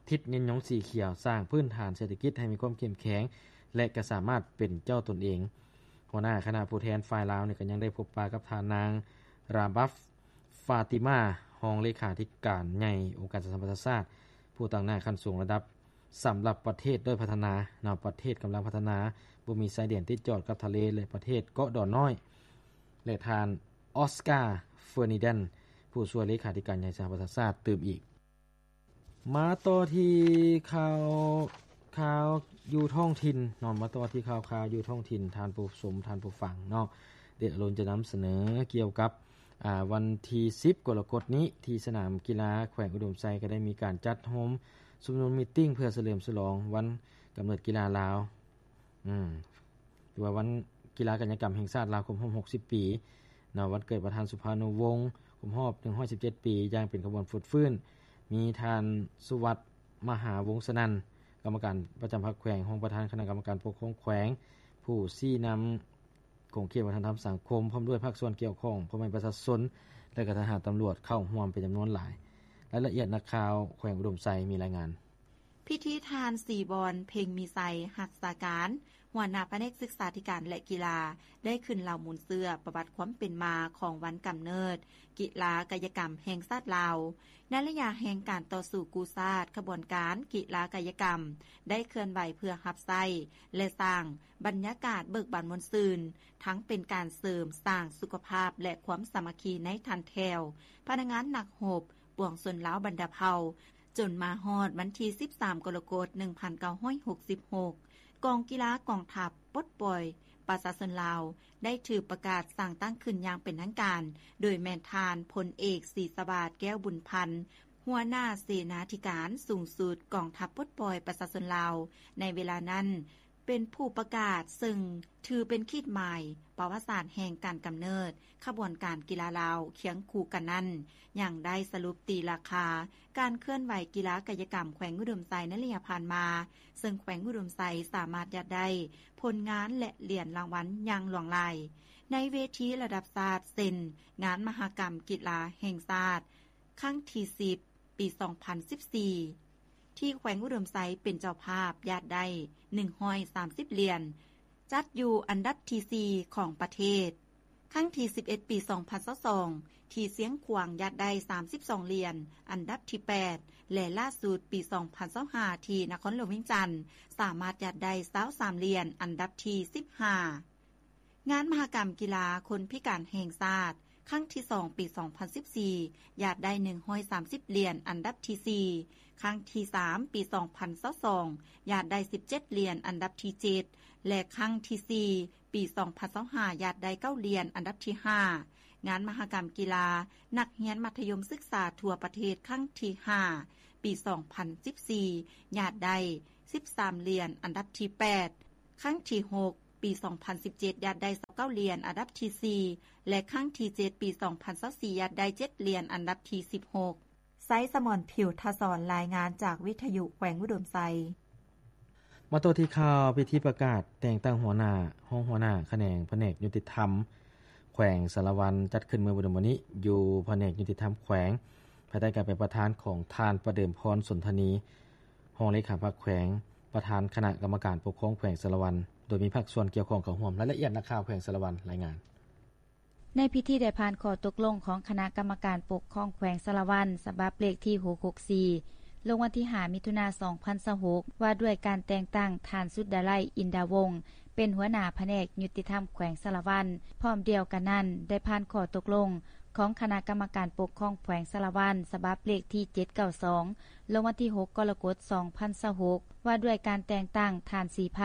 ທິດຍືນຍົງສີຂຽວ, ສ້າງພື້ນຖານເສດຖະກິດໃຫ້ມີຄວາມເຂັ້ມແຂງ ແລະ ກະສາມາດເປັນເຈົ້າຕົນເອງ. ຫົວໜ້າຄະນະຜູ້ແທນຝ່າຍລາວນີ້ກໍຍັງໄດ້ພົບປະກັບທ່ານນາງ ຣາບັບ ຟາຕິມາ ຮອງເລຂາທິການໃຫຍ່ອົງການສະຫະປະຊາຊາດ ຜູ້ຕາງໜ້າຂັ້ນສູງລະດັບ ສຳລັບປະເທດດ້ອຍພັດທະນາເນາະ, ປະເທດກຳລັງພັດທະນາ, ບໍ່ມີຊາຍແດນຕິດຈອດກັບທະເລ ແລະ ປະເທດເກາະດອນນ້ອຍ ແລະ ທ່ານ ອອສກາ ເຟີນີແດນ ຜູ້ຊ່ວຍເລຂາທິການໃຫຍ່ສະຫະປະຊາຊາດ ຕື່ມອີກ. ມາຕໍ່ທີ່ຂ່າວ ຂ່າວຢູ່ທ້ອງຖິ່ນເນາະ, ມາຕໍ່ທີ່ຂ່າວ ຂ່າວຢູ່ທ້ອງຖິ່ນ ທ່ານຜູ້ຊົມ ທ່ານຜູ້ຟັງເນາະ, ເດດອາລຸນຈະນຳສະເໜີກ່ຽວກັບ ອາ ວັນທີສິບ ກໍລະກົດນີ້ ທີ່ສະໜາມກິລາແຂວງອຸດົມໄຊ ກໍໄດ້ມີການຈັດໂຮມຊຸມນຸມມີດຕິ້ງ ເພື່ອສະເຫຼີມສະຫຼອງວັນກຳເນີດກິລາລາວ ອືມ ຫຼືວ່າວັນກິລາກາຍະກຳແຫ່ງຊາດລາວຄົບຮອບຫົກສິບປີເນາະ, ວັນເກີດປະທານສຸພານຸວົງ ຄົບຮອບໜຶ່ງຮ້ອຍສິບເຈັດປີ ຢ່າງເປັນຂະບວນຟົດຟື້ນ, ມີທ່ານ ສຸວັດ ມະຫາວົງສະນັນ ກຳມະການປະຈຳພັກແຂວງ, ຮອງປະທານຄະນະກຳມະການປົກຄອງແຂວງ, ຜູ້ຊີ້ນຳຂົງເຂດວັດທະນະທຳສັງຄົມ ພ້ອມດ້ວຍພາກສ່ວນກ່ຽວຂ້ອງ, ພໍ່ແມ່ປະຊາຊົນ ແລະ ກໍທະຫານຕຳຫຼວດເຂົ້າຮ່ວມເປັນຈຳນວນຫຼາຍ. ລາຍລະອຽດນັກຂ່າວແຂວງອຸດົມໄຊມີລາຍງານ. ພິທີທ່ານ ສີບອນ ເພັງມີໄຊ ຮັກສາການ ຫົວໜ້າພະແນກສຶກສາທິການ ແລະ ກິລາ ໄດ້ຂຶ້ນເລົ່າມູນເຊື້ອປະຫວັດຄວາມເປັນມາຂອງວັນກຳເນີດກິລາກາຍະກຳແຫ່ງຊາດລາວ. ໃນໄລຍະແຫ່ງການຕໍ່ສູ້ກູ້ຊາດ, ຂະບວນການກິລາກາຍະກຳໄດ້ເຄື່ອນໄຫວເພື່ອຮັບໃຊ້ ແລະ ສ້າງບັນຍາກາດເບີກບານມ່ວນຊື່ນ, ທັງເປັນການເສີມສ້າງສຸຂະພາບ ແລະ ຄວາມສາມັກຄີໃນຖັນແຖວ ພະນັກງານນັກຮົບ ປວງຊົນລາວບັນດາເຜົ່າ, ຈົນມາຮອດວັນທີສິບສາມ ກໍລະກົດ ໜຶ່ງພັນເກົ້າຮ້ອຍຫົກສິບຫົກ ກອງກິລາກອງທັບປົດປ່ອຍປະຊາຊົນລາວ ໄດ້ຖືກປະກາດສ້າງຕັ້ງຂຶ້ນຢ່າງເປັນທາງການ ໂດຍແມ່ນທ່ານ ພົນເອກ ສີສະຫວາດ ແກ້ວບຸນພັນ ຫົວໜ້າເສນາທິການສູງສຸດກອງທັບປົດປ່ອຍປະຊາຊົນລາວ ໃນເວລານັ້ນ ເປັນຜູ້ປະກາດ, ເຊິ່ງຖືເປັນຂີດໝາຍປະຫວັດສາດແຫ່ງການກຳເນີດຂະບວນການກິລາລາວ. ຄຽງຄູ່ກັນນັ້ນ, ຍັງໄດ້ສະຫຼຸບຕີລາຄາການເຄື່ອນໄຫວກິລາກາຍະກຳແຂວງອຸດົມໄຊໃນໄລຍະຜ່ານມາ, ເຊິ່ງແຂວງອຸດົມໄຊສາມາດຍາດໄດ້ຜົນງານ ແລະ ຫຼຽນລາງວັນຢ່າງຫຼວງຫຼາຍ ໃນເວທີລະດັບຊາດ ເຊັ່ນ ງານມະຫະກຳກິລາແຫ່ງຊາດ ຄັ້ງທີສິບ ປີສອງພັນສິບສີ່ ທີ່ແຂວງອຸດົມໄຊເປັນເຈົ້າພາບ ຍາດໄດ້ໜຶ່ງຮ້ອຍສາມສິບຫຼຽນ, ຈັດຢູ່ອັນດັບທີສີ່ຂອງປະເທດ. ຄັ້ງທີສິບເອັດ ປີສອງພັນຊາວສອງ ທີ່ຊຽງຂວາງ ຍາດໄດ້ສາມສິບສອງຫຼຽນ, ອັນດັບທີແປດ ແລະ ລ່າສຸດປີສອງພັນຊາວຫ້າ ທີ່ນະຄອນຫຼວງວຽງຈັນ ສາມາດຍາດໄດ້ຊາວສາມຫຼຽນ, ອັນດັບທີສິບຫ້າ. ງານມະຫະກຳກິລາຄົນພິການແຫ່ງຊາດ ຄັ້ງທີສອງ ປີສອງພັນສິບສີ່ ຍາດໄດ້ໜຶ່ງຮ້ອຍສາມສິບຫຼຽນ, ອັນດັບທີສີ່. ຄັ້ງທີສາມ ປີສອງພັນຊາວສອງ ຍາດໄດ້ສິບເຈັດຫຼຽນ, ອັນດັບທີເຈັດ ແລະ ຄັ້ງທີສີ່ ປີສອງພັນຊາວຫ້າ ຍາດໄດ້ເກົ້າຫຼຽນ, ອັນດັບທີຫ້າ. ງານມະຫະກຳກິລານັກຮຽນມັດທະຍົມສຶກສາທົ່ວປະເທດ ຄັ້ງທີຫ້າ ປີສອງພັນສິບສີ່ ຍາດໄດ້ສິບສາມຫຼຽນ, ອັນດັບທີແປດ. ຄັ້ງທີຫົກ ປີສອງພັນສິບເຈັດ ຍາດໄດ້ຊາວເກົ້າຫຼຽນ, ອັນດັບທີສີ່ ແລະ ຄັ້ງທີເຈັດ ປີສອງພັນຊາວສີ່ ຍາດໄດ້ເຈັດຫຼຽນ, ອັນດັບທີສິບຫົກ. ໄຊສະໝອນ ຜິວທະສອນ ລາຍງານຈາກວິທະຍຸແຂວງອຸດົມໄຊ. ມາຕໍ່ທີ່ຂ່າວພິທີປະກາດແຕ່ງຕັ້ງຫົວໜ້າ, ຮອງຫົວໜ້າຂະແໜງພະແນກຍຸຕິທຳແຂວງສາລະວັນ ຈັດຂຶ້ນເມື່ອບໍ່ດົນມານີ້ ຢູ່ພະແນກຍຸຕິທຳແຂວງ ພາຍໃຕ້ການເປັນປະທານຂອງທ່ານ ປະເດີມພອນ ສົນທະນີ ຮອງເລຂາພັກແຂວງ, ປະທານຄະນະກຳມະການປົກຄອງແຂວງສາລະວັນ, ໂດຍມີພາກສ່ວນກ່ຽວຂ້ອງເຂົ້າຮ່ວມ. ລາຍລະອຽດ ນັກຂ່າວແຂວງສາລະວັນລາຍງານ. ໃນພິທີໄດ້ຜ່ານຂໍ້ຕົກລົງຂອງຄະນະກຳມະການປົກຄອງແຂວງສາລະວັນ ສະບັບເລກທີຫົກຫົກສີ່ ລົງວັນທີຫ້າ ມິຖຸນາ ສອງພັນຊາວຫົກ ວ່າດ້ວຍການແຕ່ງຕັ້ງທ່ານ ສຸດດາໄລ ອິນດາວົງ ເປັນຫົວໜ້າພະແນກຍຸຕິທຳແຂວງສາລະວັນ. ພ້ອມດຽວກັນນັ້ນ ໄດ້ຜ່ານຂໍ້ຕົກລົງຂອງຄະນະກຳມະການປົກຄອງແຂວງສາລະວັນ ສະບັບເລກທີເຈັດເກົ້າສອງ ລົງວັນທີຫົກ ກໍລະກົດ ສອງພັນຊາວຫົກ ວ່າດ້ວຍການແຕ່ງຕັ້ງທ່ານ ສີໄພ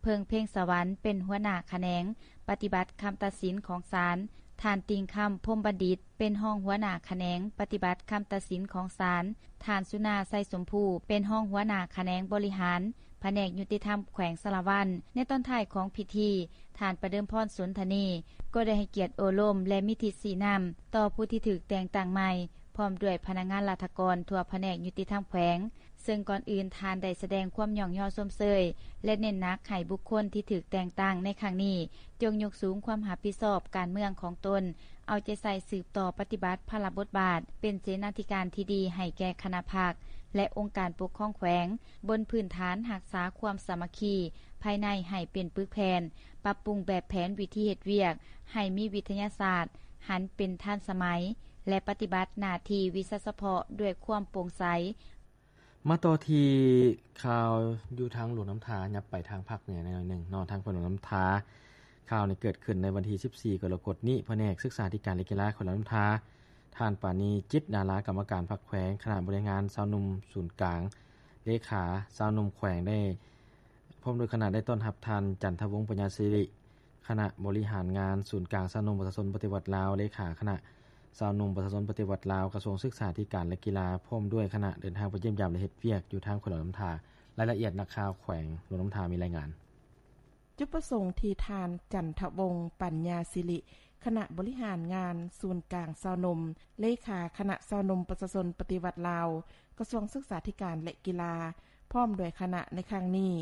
ເພິ່ງເພັງສະຫວັນ ເປັນຫົວໜ້າຂະແໜງປະຕິບັດຄຳຕັດສິນຂອງສານ, ທ່ານ ຕິ່ງຄຳ ພົມບັນດິດ ເປັນຮອງຫົວໜ້າຂະແໜງປະຕິບັດຄຳຕັດສິນຂອງສານ, ທ່ານ ສຸນາ ໄຊສົມພູ ເປັນຮອງຫົວໜ້າຂະແໜງບໍລິຫານພະແນກຍຸຕິທຳແຂວງສາລະວັນ. ໃນຕອນທ້າຍຂອງພິທີ, ທ່ານ ປະເດີມພອນ ສົນທະນີ ກໍໄດ້ໃຫ້ກຽດໂອ້ລົມ ແລະ ມີທິດຊີ້ນຳຕໍ່ຜູ້ທີ່ຖືກແຕ່ງຕັ້ງໃໝ່ ພ້ອມດ້ວຍພະນັກງານລັດຖະກອນທົ່ວພະແນກຍຸຕິທຳແຂວງ, ເຊິ່ງກ່ອນອື່ນທ່ານໄດ້ສະແດງຄວາມຍ້ອງຍໍຊົມເຊີຍ ແລະ ເນັ້ນໜັກໃຫ້ບຸກຄົນທີ່ຖືກແຕ່ງຕັ້ງໃນຄັ້ງນີ້ ຈົ່ງຍົກສູງຄວາມຮັບຜິດຊອບການເມືອງຂອງຕົນ, ເອົາໃຈໃສ່ສືບຕໍ່ປະຕິບັດພາລະບົດບາດເປັນເສນາທິການທີ່ດີໃຫ້ແກ່ຄະນະພັກ ແລະ ອົງການປົກຄອງແຂວງ, ບົນພື້ນຖານຮັກສາຄວາມສາມັກຄີພາຍໃນໃຫ້ເປັນປຶກແຜ່ນ, ປັບປຸງແບບແຜນວິທີເຮັດວຽກໃຫ້ມີວິທະຍາສາດ, ຫັນເປັນທັນສະໄໝ ແລະ ປະຕິບັດໜ້າທີ່ວິຊາສະເພາະດ້ວຍຄວາມໂປ່ງໃສ. ມາຕໍ່ທີ່ຂ່າວຢູ່ທາງຫຼວງນ້ຳທາ, ຫຍັບໄປທາງພາກເໜືອໜ້ອຍໜຶ່ງເນາະ, ທາງແຂວງຫຼວງນ້ຳທາ. ຂ່າວນີ້ເກີດຂຶ້ນໃນວັນທີສິບສີ່ ກໍລະກົດນີ້, ພະແນກສຶກສາທິການ ແລະ ກິລາແຂວງຫຼວງນ້ຳທາ, ທ່ານ ປານີ ຈິດດາລາ ກຳມະການພັກແຂວງ, ຄະນະບໍລິຫານງານຊາວໜຸ່ມສູນກາງ, ເລຂາຊາວໜຸ່ມແຂວງ ໄດ້ ພ້ອມດ້ວຍຄະນະໄດ້ຕ້ອນຮັບທ່ານ ຈັນທະວົງ ປັນຍາສິລິ ຄະນະບໍລິຫານງານສູນກາງຊາວໜຸ່ມປະຊາຊົນປະຕິວັດລາວ, ເລຂາຄະນະຊາວໜຸ່ມປະຊາຊົນປະຕິວັດລາວ, ກະຊວງສຶກສາທິການ ແລະ ກິລາ, ພ້ອມດ້ວຍຄະນະເດີນທາງໄປຢ້ຽມຢາມ ແລະ ເຮັດວຽກຢູ່ທາງແຂວງຫຼວງນ້ຳທາ. ລາຍລະອຽດ ນັກຂ່າວແຂວງຫຼວງນ້ຳທາມີລາຍງານ. ຈຸດປະສົງທີ່ທ່ານ ຈັນທະວົງ ປັນຍາສິລິ ຄະນະບໍລິຫານງານສູນກາງຊາວໜຸ່ມ, ເລຂາຄະນະຊາວໜຸ່ມປະຊາຊົນປະຕິວັດລາວ, ກະຊວງສຶກສາທິການ ແລະ ກິລາ ພ້ອມດ້ວຍຄະນະໃນຄັ້ງນີ້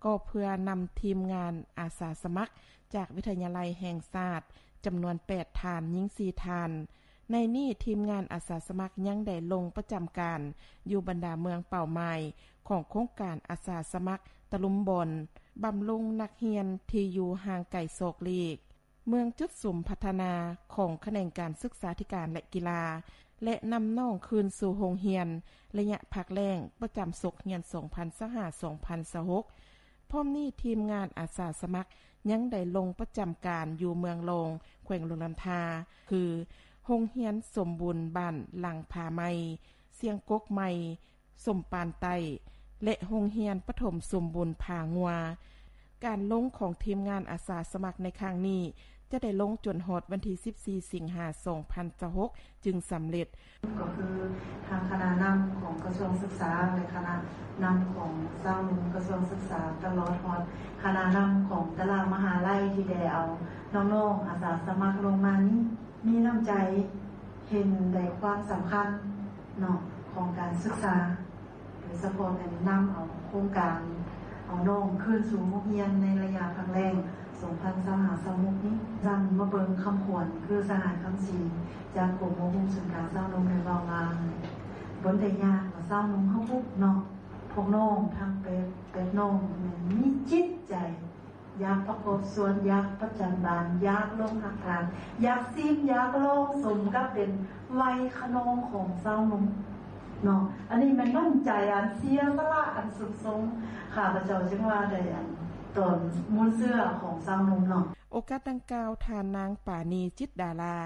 ກໍເພື່ອນຳທີມງານອາສາສະໝັກຈາກວິທະຍາໄລແຫ່ງຊາດ ຈຳນວນແປດທ່ານ, ຍິງສີ່ທ່ານ. ໃນນີ້ທີມງານອາສາສະໝັກຍັງໄດ້ລົງປະຈຳການຢູ່ບັນດາເມືອງເປົ້າໝາຍຂອງໂຄງການອາສາສະໝັກຕະລຸມບ່ອນ, ບຳລຸງນັກຮຽນທີ່ຢູ່ຫ່າງໄກສອກຫຼີກ, ເມືອງຈຸດສຸມພັດທະນາຂອງຂະແໜງການສຶກສາທິການ ແລະ ກິລາ ແລະ ນຳນ້ອງຄືນສູ່ໂຮງຮຽນໄລຍະພັກແລ້ງປະຈຳສົກຮຽນສອງພັນຊາວຫ້າ ສອງພັນຊາວຫົກ. ພ້ອມນີ້ທີມງານອາສາສະໝັກຍັງໄດ້ລົງປະຈຳການຢູ່ເມືອງລອງ ແຂວງຫຼວງນ້ຳທາ ຄື ໂຮງຮຽນສົມບູນບ້ານຫຼັງຜາໃໝ່, ຊຽງກົກໃໝ່, ສົມປານໃຕ້ ແລະ ໂຮງຮຽນປະຖົມສົມບູນຜາງົວ. ການລົງຂອງທີມງານອາສາສະໝັກໃນຄັ້ງນີ້ ຈະໄດ້ລົງຈົນຮອດວັນທີສິບສີ່ ສິງຫາ ສອງພັນຊາວຫົກ ຈຶ່ງສຳເລັດ. ກໍຄືທາງຄະນະນຳຂອງກະຊວງສຶກສາ ແລະ ຄະນະນຳຂອງຊາວໜຸ່ມກະຊວງສຶກສາ ຕະຫຼອດຮອດຄະນະນຳຂອງແຕ່ລະມະຫາໄລທີ່ໄດ້ເອົານ້ອງໆອາສາສະໝັກລົງມານີ້ ມີນ້ຳໃຈເຫັນໃນຄວາມສຳຄັນເນາະ ຂອງການສຶກສາ ໂດຍສະເພາະແມ່ນນຳເອົາໂຄງການເອົານ້ອງຄືນສູ່ໂຮງຮຽນໃນໄລຍະພັກແລ້ງສອງພັນຊາວຫ້າ ຊາວຫົກນີ້ ຈັ່ງມາເບິ່ງຄຳຂວັນ ຄືສະຫາຍຄຳສີຈາກກົມອົບຮົມສູນກາງຊາວໜຸ່ມໄດ້ເວົ້າວ່າ ບໍ່ໄດ້ຍາກວ່າຊາວໜຸ່ມເຮົາພຸກເນາະ ພວກນ້ອງທັງແປດ ແປດນ້ອງແມ່ນມີຈິດໃຈ ຢາກປະກອບສ່ວນ ຢາກປະຈັນບານ ຢາກລົງຮັກຖານ ຢາກຊີມ ຢາກລອງ ສົມກັບເປັນໄວຂະນອງຂອງຊາວໜຸ່ມເນາະ. ອັນນີ້ແມ່ນນ້ຳໃຈອັນເສຍສະຫຼະອັນສຸດຊົງ ຂ້າພະເຈົ້າຈຶ່ງວ່າໄດ້ອັນຕອນມູນເຊື້ອຂອງຊາວໜຸ່ມເນາະ. ໂອກາດດັ່ງກ່າວ ທ່ານນາງ ປານີ ຈິດດາລາ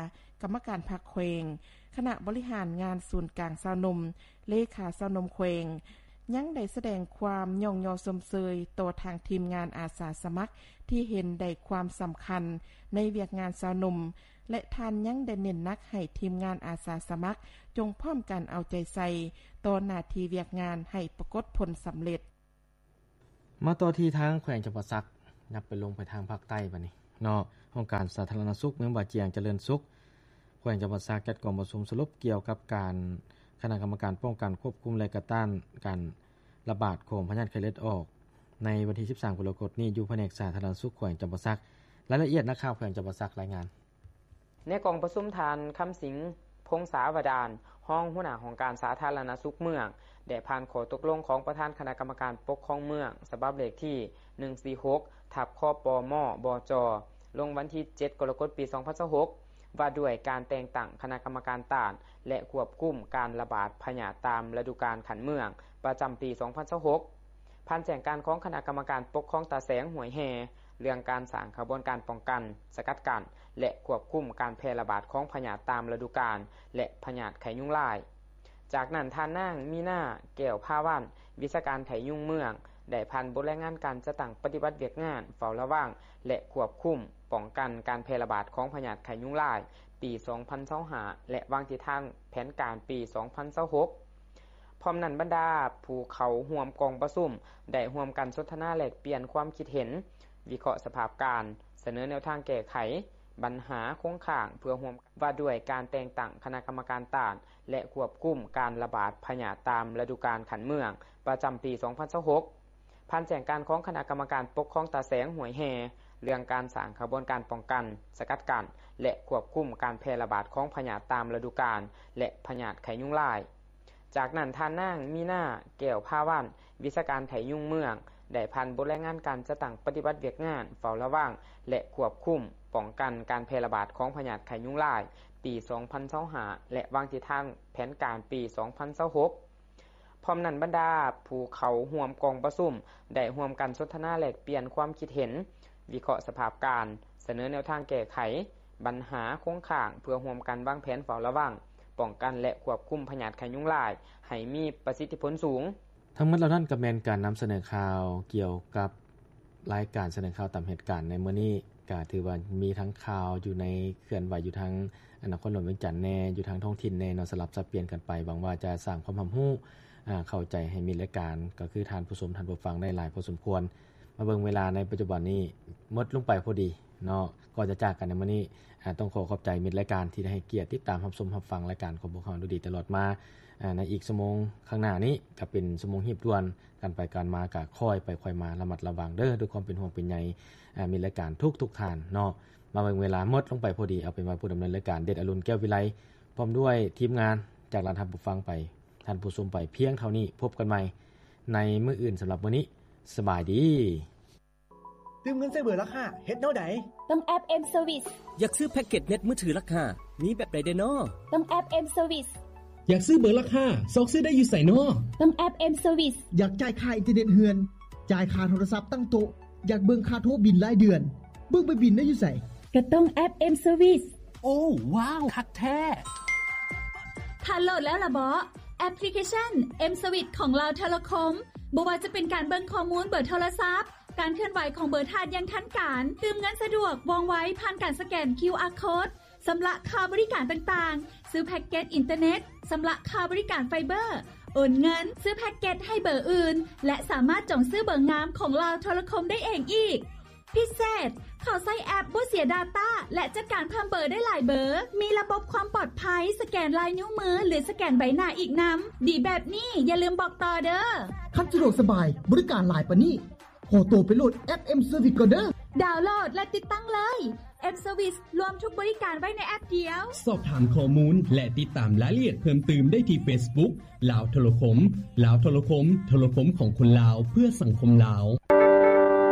ກຳມະການພັກແຂວງ, ຄະນະບໍລິຫານງານສູນກາງຊາວໜຸ່ມ, ເລຂາຊາວໜຸ່ມແຂວງ ຍັງໄດ້ສະແດງຄວາມຍ້ອງຍໍຊົມເຊີຍຕໍ່ທາງທີມງານອາສາສະໝັກທີ່ເຫັນໄດ້ຄວາມສຳຄັນໃນວຽກງານຊາວໜຸ່ມ ແລະ ທ່ານຍັງໄດ້ເນັ້ນໜັກໃຫ້ທີມງານອາສາສະໝັກຈົ່ງພ້ອມກັນເອົາໃຈໃສ່ຕໍ່ໜ້າທີ່ວຽກງານໃຫ້ປາກົດຜົນສຳເລັດ. ມາຕໍ່ທີ່ທາງແຂວງຈຳປາສັກ ຍັບໄປລົງໄປທາງພາກໃຕ້ບາດນີ້ເນາະ. ຫ້ອງການສາທາລະນະສຸກເມືອງບາຈຽງຈະເລີນສຸກ ແຂວງຈຳປາສັກ ຈັດກອງປະຊຸມສະຫຼຸບກ່ຽວກັບການຄະນະກຳມະການປ້ອງກັນ, ຄວບຄຸມ ແລະ ກະຕ້ານການລະບາດຂອງພະຍາດໄຂ້ເລືອດອອກ ໃນວັນທີສິບສາມ ກໍລະກົດນີ້ ຢູ່ພະແນກສາທາລະນະສຸກແຂວງຈຳປາສັກ. ລາຍລະອຽດ ນັກຂ່າວແຂວງຈຳປາສັກລາຍງານ. ໃນກອງປະຊຸມ ທ່ານ ຄຳສິງ ພົງສາວະດານ ຮອງຫົວໜ້າຫ້ອງການສາທາລະນະສຸກເມືອງ ໄດ້ຜ່ານຂໍ້ຕົກລົງຂອງປະທານຄະນະກຳມະການປົກຄອງເມືອງ ສະບັບເລກທີໜຶ່ງສີ່ຫົກ ທັບ ຄປມ ບຈ ລົງວັນທີເຈັດ ກໍລະກົດ ປີສອງພັນຊາວຫົກ ວ່າດ້ວຍການແຕ່ງຕັ້ງຄະນະກຳມະການຕ້ານ ແລະ ຄວບຄຸມການລະບາດພະຍາດຕາມລະດູການຂັ້ນເມືອງ ປະຈຳປີສອງພັນຊາວຫົກ. ຜ່ານແຈ້ງການຂອງຄະນະກຳມະການປົກຄອງຕາແສງຫ້ວຍແຮ່ ເລື່ອງການສ້າງຂະບວນການປ້ອງກັນ, ສະກັດກັ້ນ ແລະ ຄວບຄຸມການແຜ່ລະບາດຂອງພະຍາດຕາມລະດູການ ແລະ ພະຍາດໄຂ້ຍຸງລາຍ. ຈາກນັ້ນ ທ່ານນາງ ມີນາ ແກ້ວພາວັນ ວິຊາການໄຂ້ຍຸງເມືອງ ໄດ້ຜ່ານບົດລາຍງານການຈັດຕັ້ງປະຕິບັດວຽກງານເຝົ້າລະວັງ ແລະ ຄວບຄຸມປ້ອງກັນການແຜ່ລະບາດຂອງພະຍາດໄຂ້ຍຸງລາຍ ປີສອງພັນຊາວຫ້າ ແລະ ວາງທິດທາງແຜນການປີສອງພັນຊາວຫົກ. ພ້ອມນັ້ນ ບັນດາຜູ້ເຂົ້າຮ່ວມກອງປະຊຸມ ໄດ້ຮ່ວມກັນສົນທະນາແລກປ່ຽນຄວາມຄິດເຫັນ, ວິເຄາະສະພາບການ, ສະເໜີແນວທາງແກ້ໄຂບັນຫາຄົງຄ້າງ ເພື່ອຮ່ວມ ວ່າດ້ວຍການແຕ່ງຕັ້ງຄະນະກຳມະການຕ້ານ ແລະ ຄວບຄຸມການລະບາດພະຍາດຕາມລະດູການຂັ້ນເມືອງ ປະຈຳປີສອງພັນຊາວຫົກ. ຜ່ານແຈ້ງການຂອງຄະນະກຳມະການປົກຄອງຕາແສງຫ້ວຍແຮ່ ເລື່ອງການສ້າງຂະບວນການປ້ອງກັນ, ສະກັດກັ້ນ ແລະ ຄວບຄຸມການແຜ່ລະບາດຂອງພະຍາດຕາມລະດູການ ແລະ ພະຍາດໄຂ້ຍຸງລາຍ. ຈາກນັ້ນ ທ່ານນາງ ມີນາ ແກ້ວພາວັນ ວິຊາການໄຂ້ຍຸງເມືອງ ໄດ້ຜ່ານບົດລາຍງານການຈັດຕັ້ງປະຕິບັດວຽກງານເຝົ້າລະວັງ ແລະ ຄວບຄຸມປ້ອງກັນການແຜ່ລະບາດຂອງພະຍາດໄຂ້ຍຸງລາຍ ປີສອງພັນຊາວຫ້າ ແລະ ວາງທິດທາງແຜນການປີສອງພັນຊາວຫົກ. ພ້ອມນັ້ນ ບັນດາຜູ້ເຂົ້າຮ່ວມກອງປະຊຸມ ໄດ້ຮ່ວມກັນສົນທະນາແລກປ່ຽນຄວາມຄິດເຫັນ, ວິເຄາະສະພາບການ, ສະເໜີແນວທາງແກ້ໄຂບັນຫາຄົງຄ້າງ ເພື່ອຮ່ວມກັນວາງແຜນເຝົ້າລະວັງ, ປ້ອງກັນ ແລະ ຄວບຄຸມພະຍາດໄຂ້ຍຸງລາຍ ໃຫ້ມີປະສິດທິຜົນສູງ. ທັງໝົດເຫຼົ່ານັ້ນກໍແມ່ນການນຳສະເໜີຂ່າວກ່ຽວກັບ ລາຍການສະເໜີຂ່າວຕາມເຫດການໃນມື້ນີ້ ກະຖືວ່າມີທັງຂ່າວຢູ່ໃນ ເຄື່ອນໄຫວຢູ່ທາງນະຄອນຫຼວງວຽງຈັນແດ່, ຢູ່ທາງທ້ອງຖິ່ນແດ່ເນາະ, ສະຫຼັບສັບປ່ຽນກັນໄປ. ຫວັງວ່າຈະສ້າງຄວາມຮັບຮູ້ ອາ ເຂົ້າໃຈໃຫ້ມິດລາຍການ ກໍຄືທ່ານຜູ້ຊົມ, ທ່ານຜູ້ຟັງໄດ້ຫຼາຍພໍສົມຄວນ. ມາເບິ່ງເວລາໃນປັດຈຸບັນນີ້ ໝົດລົງໄປພໍດີ ເນາະ. ກ່ອນຈະຈາກກັນໃນມື້ນີ້ ອາ ຕ້ອງຂໍຂອບໃຈມິດລາຍການທີ່ໄດ້ໃຫ້ກຽດຕິດຕາມຮັບຊົມຮັບຟັງລາຍການຂອງພວກເຮົາໂດຍດີຕະຫຼອດມາ. ອາ ໃນອີກຊົ່ວໂມງຂ້າງໜ້ານີ້ ກໍເປັນຊົ່ວໂມງຮີບດ່ວນກັນໄປກັນມາ ກໍຄ່ອຍໄປຄ່ອຍມາ ລະມັດລະວັງເດີ້ ດ້ວຍຄວາມເປັນຫ່ວງເປັນໃຍ ອາ ມິດລາຍການທຸກໆທ່ານເນາະ. ມາເບິ່ງເວລາໝົດລົງໄປພໍດີ ເອົາເປັນວ່າຜູ້ດຳເນີນລາຍການ ເດັດອະລຸນ ແກ້ວວິໄລ ພ້ອມດ້ວຍທີມງານ ຈາກລາທ່ານຜູ້ຟັງໄປ ທ່ານຜູ້ຊົມໄປພຽງເທົ່ານີ້. ພົບກັນໃໝ່ໃນມື້ອື່ນ. ສຳລັບມື້ນີ້ ສະບາຍດີ. ຕື່ມເງິນໃສ່ເບີລາຄາ ເຮັດແນວໃດ? ຕ້ອງແອັບ M Service. ຢາກຊື້ແພັກເກັດເນັດມືຖືລາຄາ ມີແບບໃດແດ່ນໍ? ຕ້ອງແອັບ M Service. ຢາກຊື້ເບີລາຄາ ຊອກຊື້ໄດ້ຢູ່ໃສນໍ? ຕ້ອງແອັບ M Service. ຢາກຈ່າຍຄ່າອິນເຕີເນັດເຮືອນ, ຈ່າຍຄ່າໂທລະສັບຕັ້ງໂຕະ, ຢາກເບິ່ງຄ່າໂທບິນລາຍເດືອນ, ເບິ່ງໃບບິນໄດ້ຢູ່ໃສ? ກໍຕ້ອງແອັບ M Service. ໂອ້ ວ້າວ ຄັກແທ້! ທ່ານໂຫຼດແລ້ວລະເບາະ ແອັບພລິເຄຊັນ M Service ຂອງລາວໂທລະຄົມ? ບໍ່ວ່າຈະເປັນການເບິ່ງຂໍ້ມູນເບີໂທລະສັບ, ການເຄື່ອນໄຫວຂອງເບີທ່ານຢ່າງທັນການ, ຕື່ມເງິນສະດວກ, ວ່ອງໄວ, ຜ່ານການສະແກນ ຄິວອາ ໂຄດ, ຊຳລະຄ່າບໍລິການຕ່າງໆ, ຊື້ແພັກເກັດອິນເຕີເນັດ, ຊຳລະຄ່າບໍລິການໄຟເບີ, ໂອນເງິນ, ຊື້ແພັກເກັດໃຫ້ເບີອື່ນ ແລະ ສາມາດຈອງຊື້ເບີງາມຂອງລາວໂທລະຄົມໄດ້ເອງອີກ. ພິເສດ, ເຂົ້າໃຊ້ແອັບບໍ່ເສຍດາຕ້າ ແລະ ຈັດການເພີ່ມເບີໄດ້ຫຼາຍເບີ, ມີລະບົບຄວາມປອດໄພ, ສະແກນລາຍນິ້ວມື ຫຼື ສະແກນໃບໜ້າອີກນຳ. ດີແບບນີ້ ຢ່າລືມບອກຕໍ່ເດີ້. ຄັນສະດວກສະບາຍ, ບໍລິການຫຼາຍປານນີ້, ຂໍໂຕໄປໂຫຼດແອັບ M Service ກ່ອນເດີ້. ດາວໂຫຼດ ແລະ ຕິດຕັ້ງເລີຍ. M Service ລວມທຸກບໍລິການໄວ້ໃນແອັບດຽວ. ສອບຖາມຂໍ້ມູນ ແລະ ຕິດຕາມລາຍລະອຽດເພີ່ມຕື່ມໄດ້ທີ່ Facebook ລາວໂທລະຄົມ. ລາວໂທລະຄົມ, ໂທລະຄົມຂອງຄົນລາວ ເພື່ອສັງຄົມລາວ.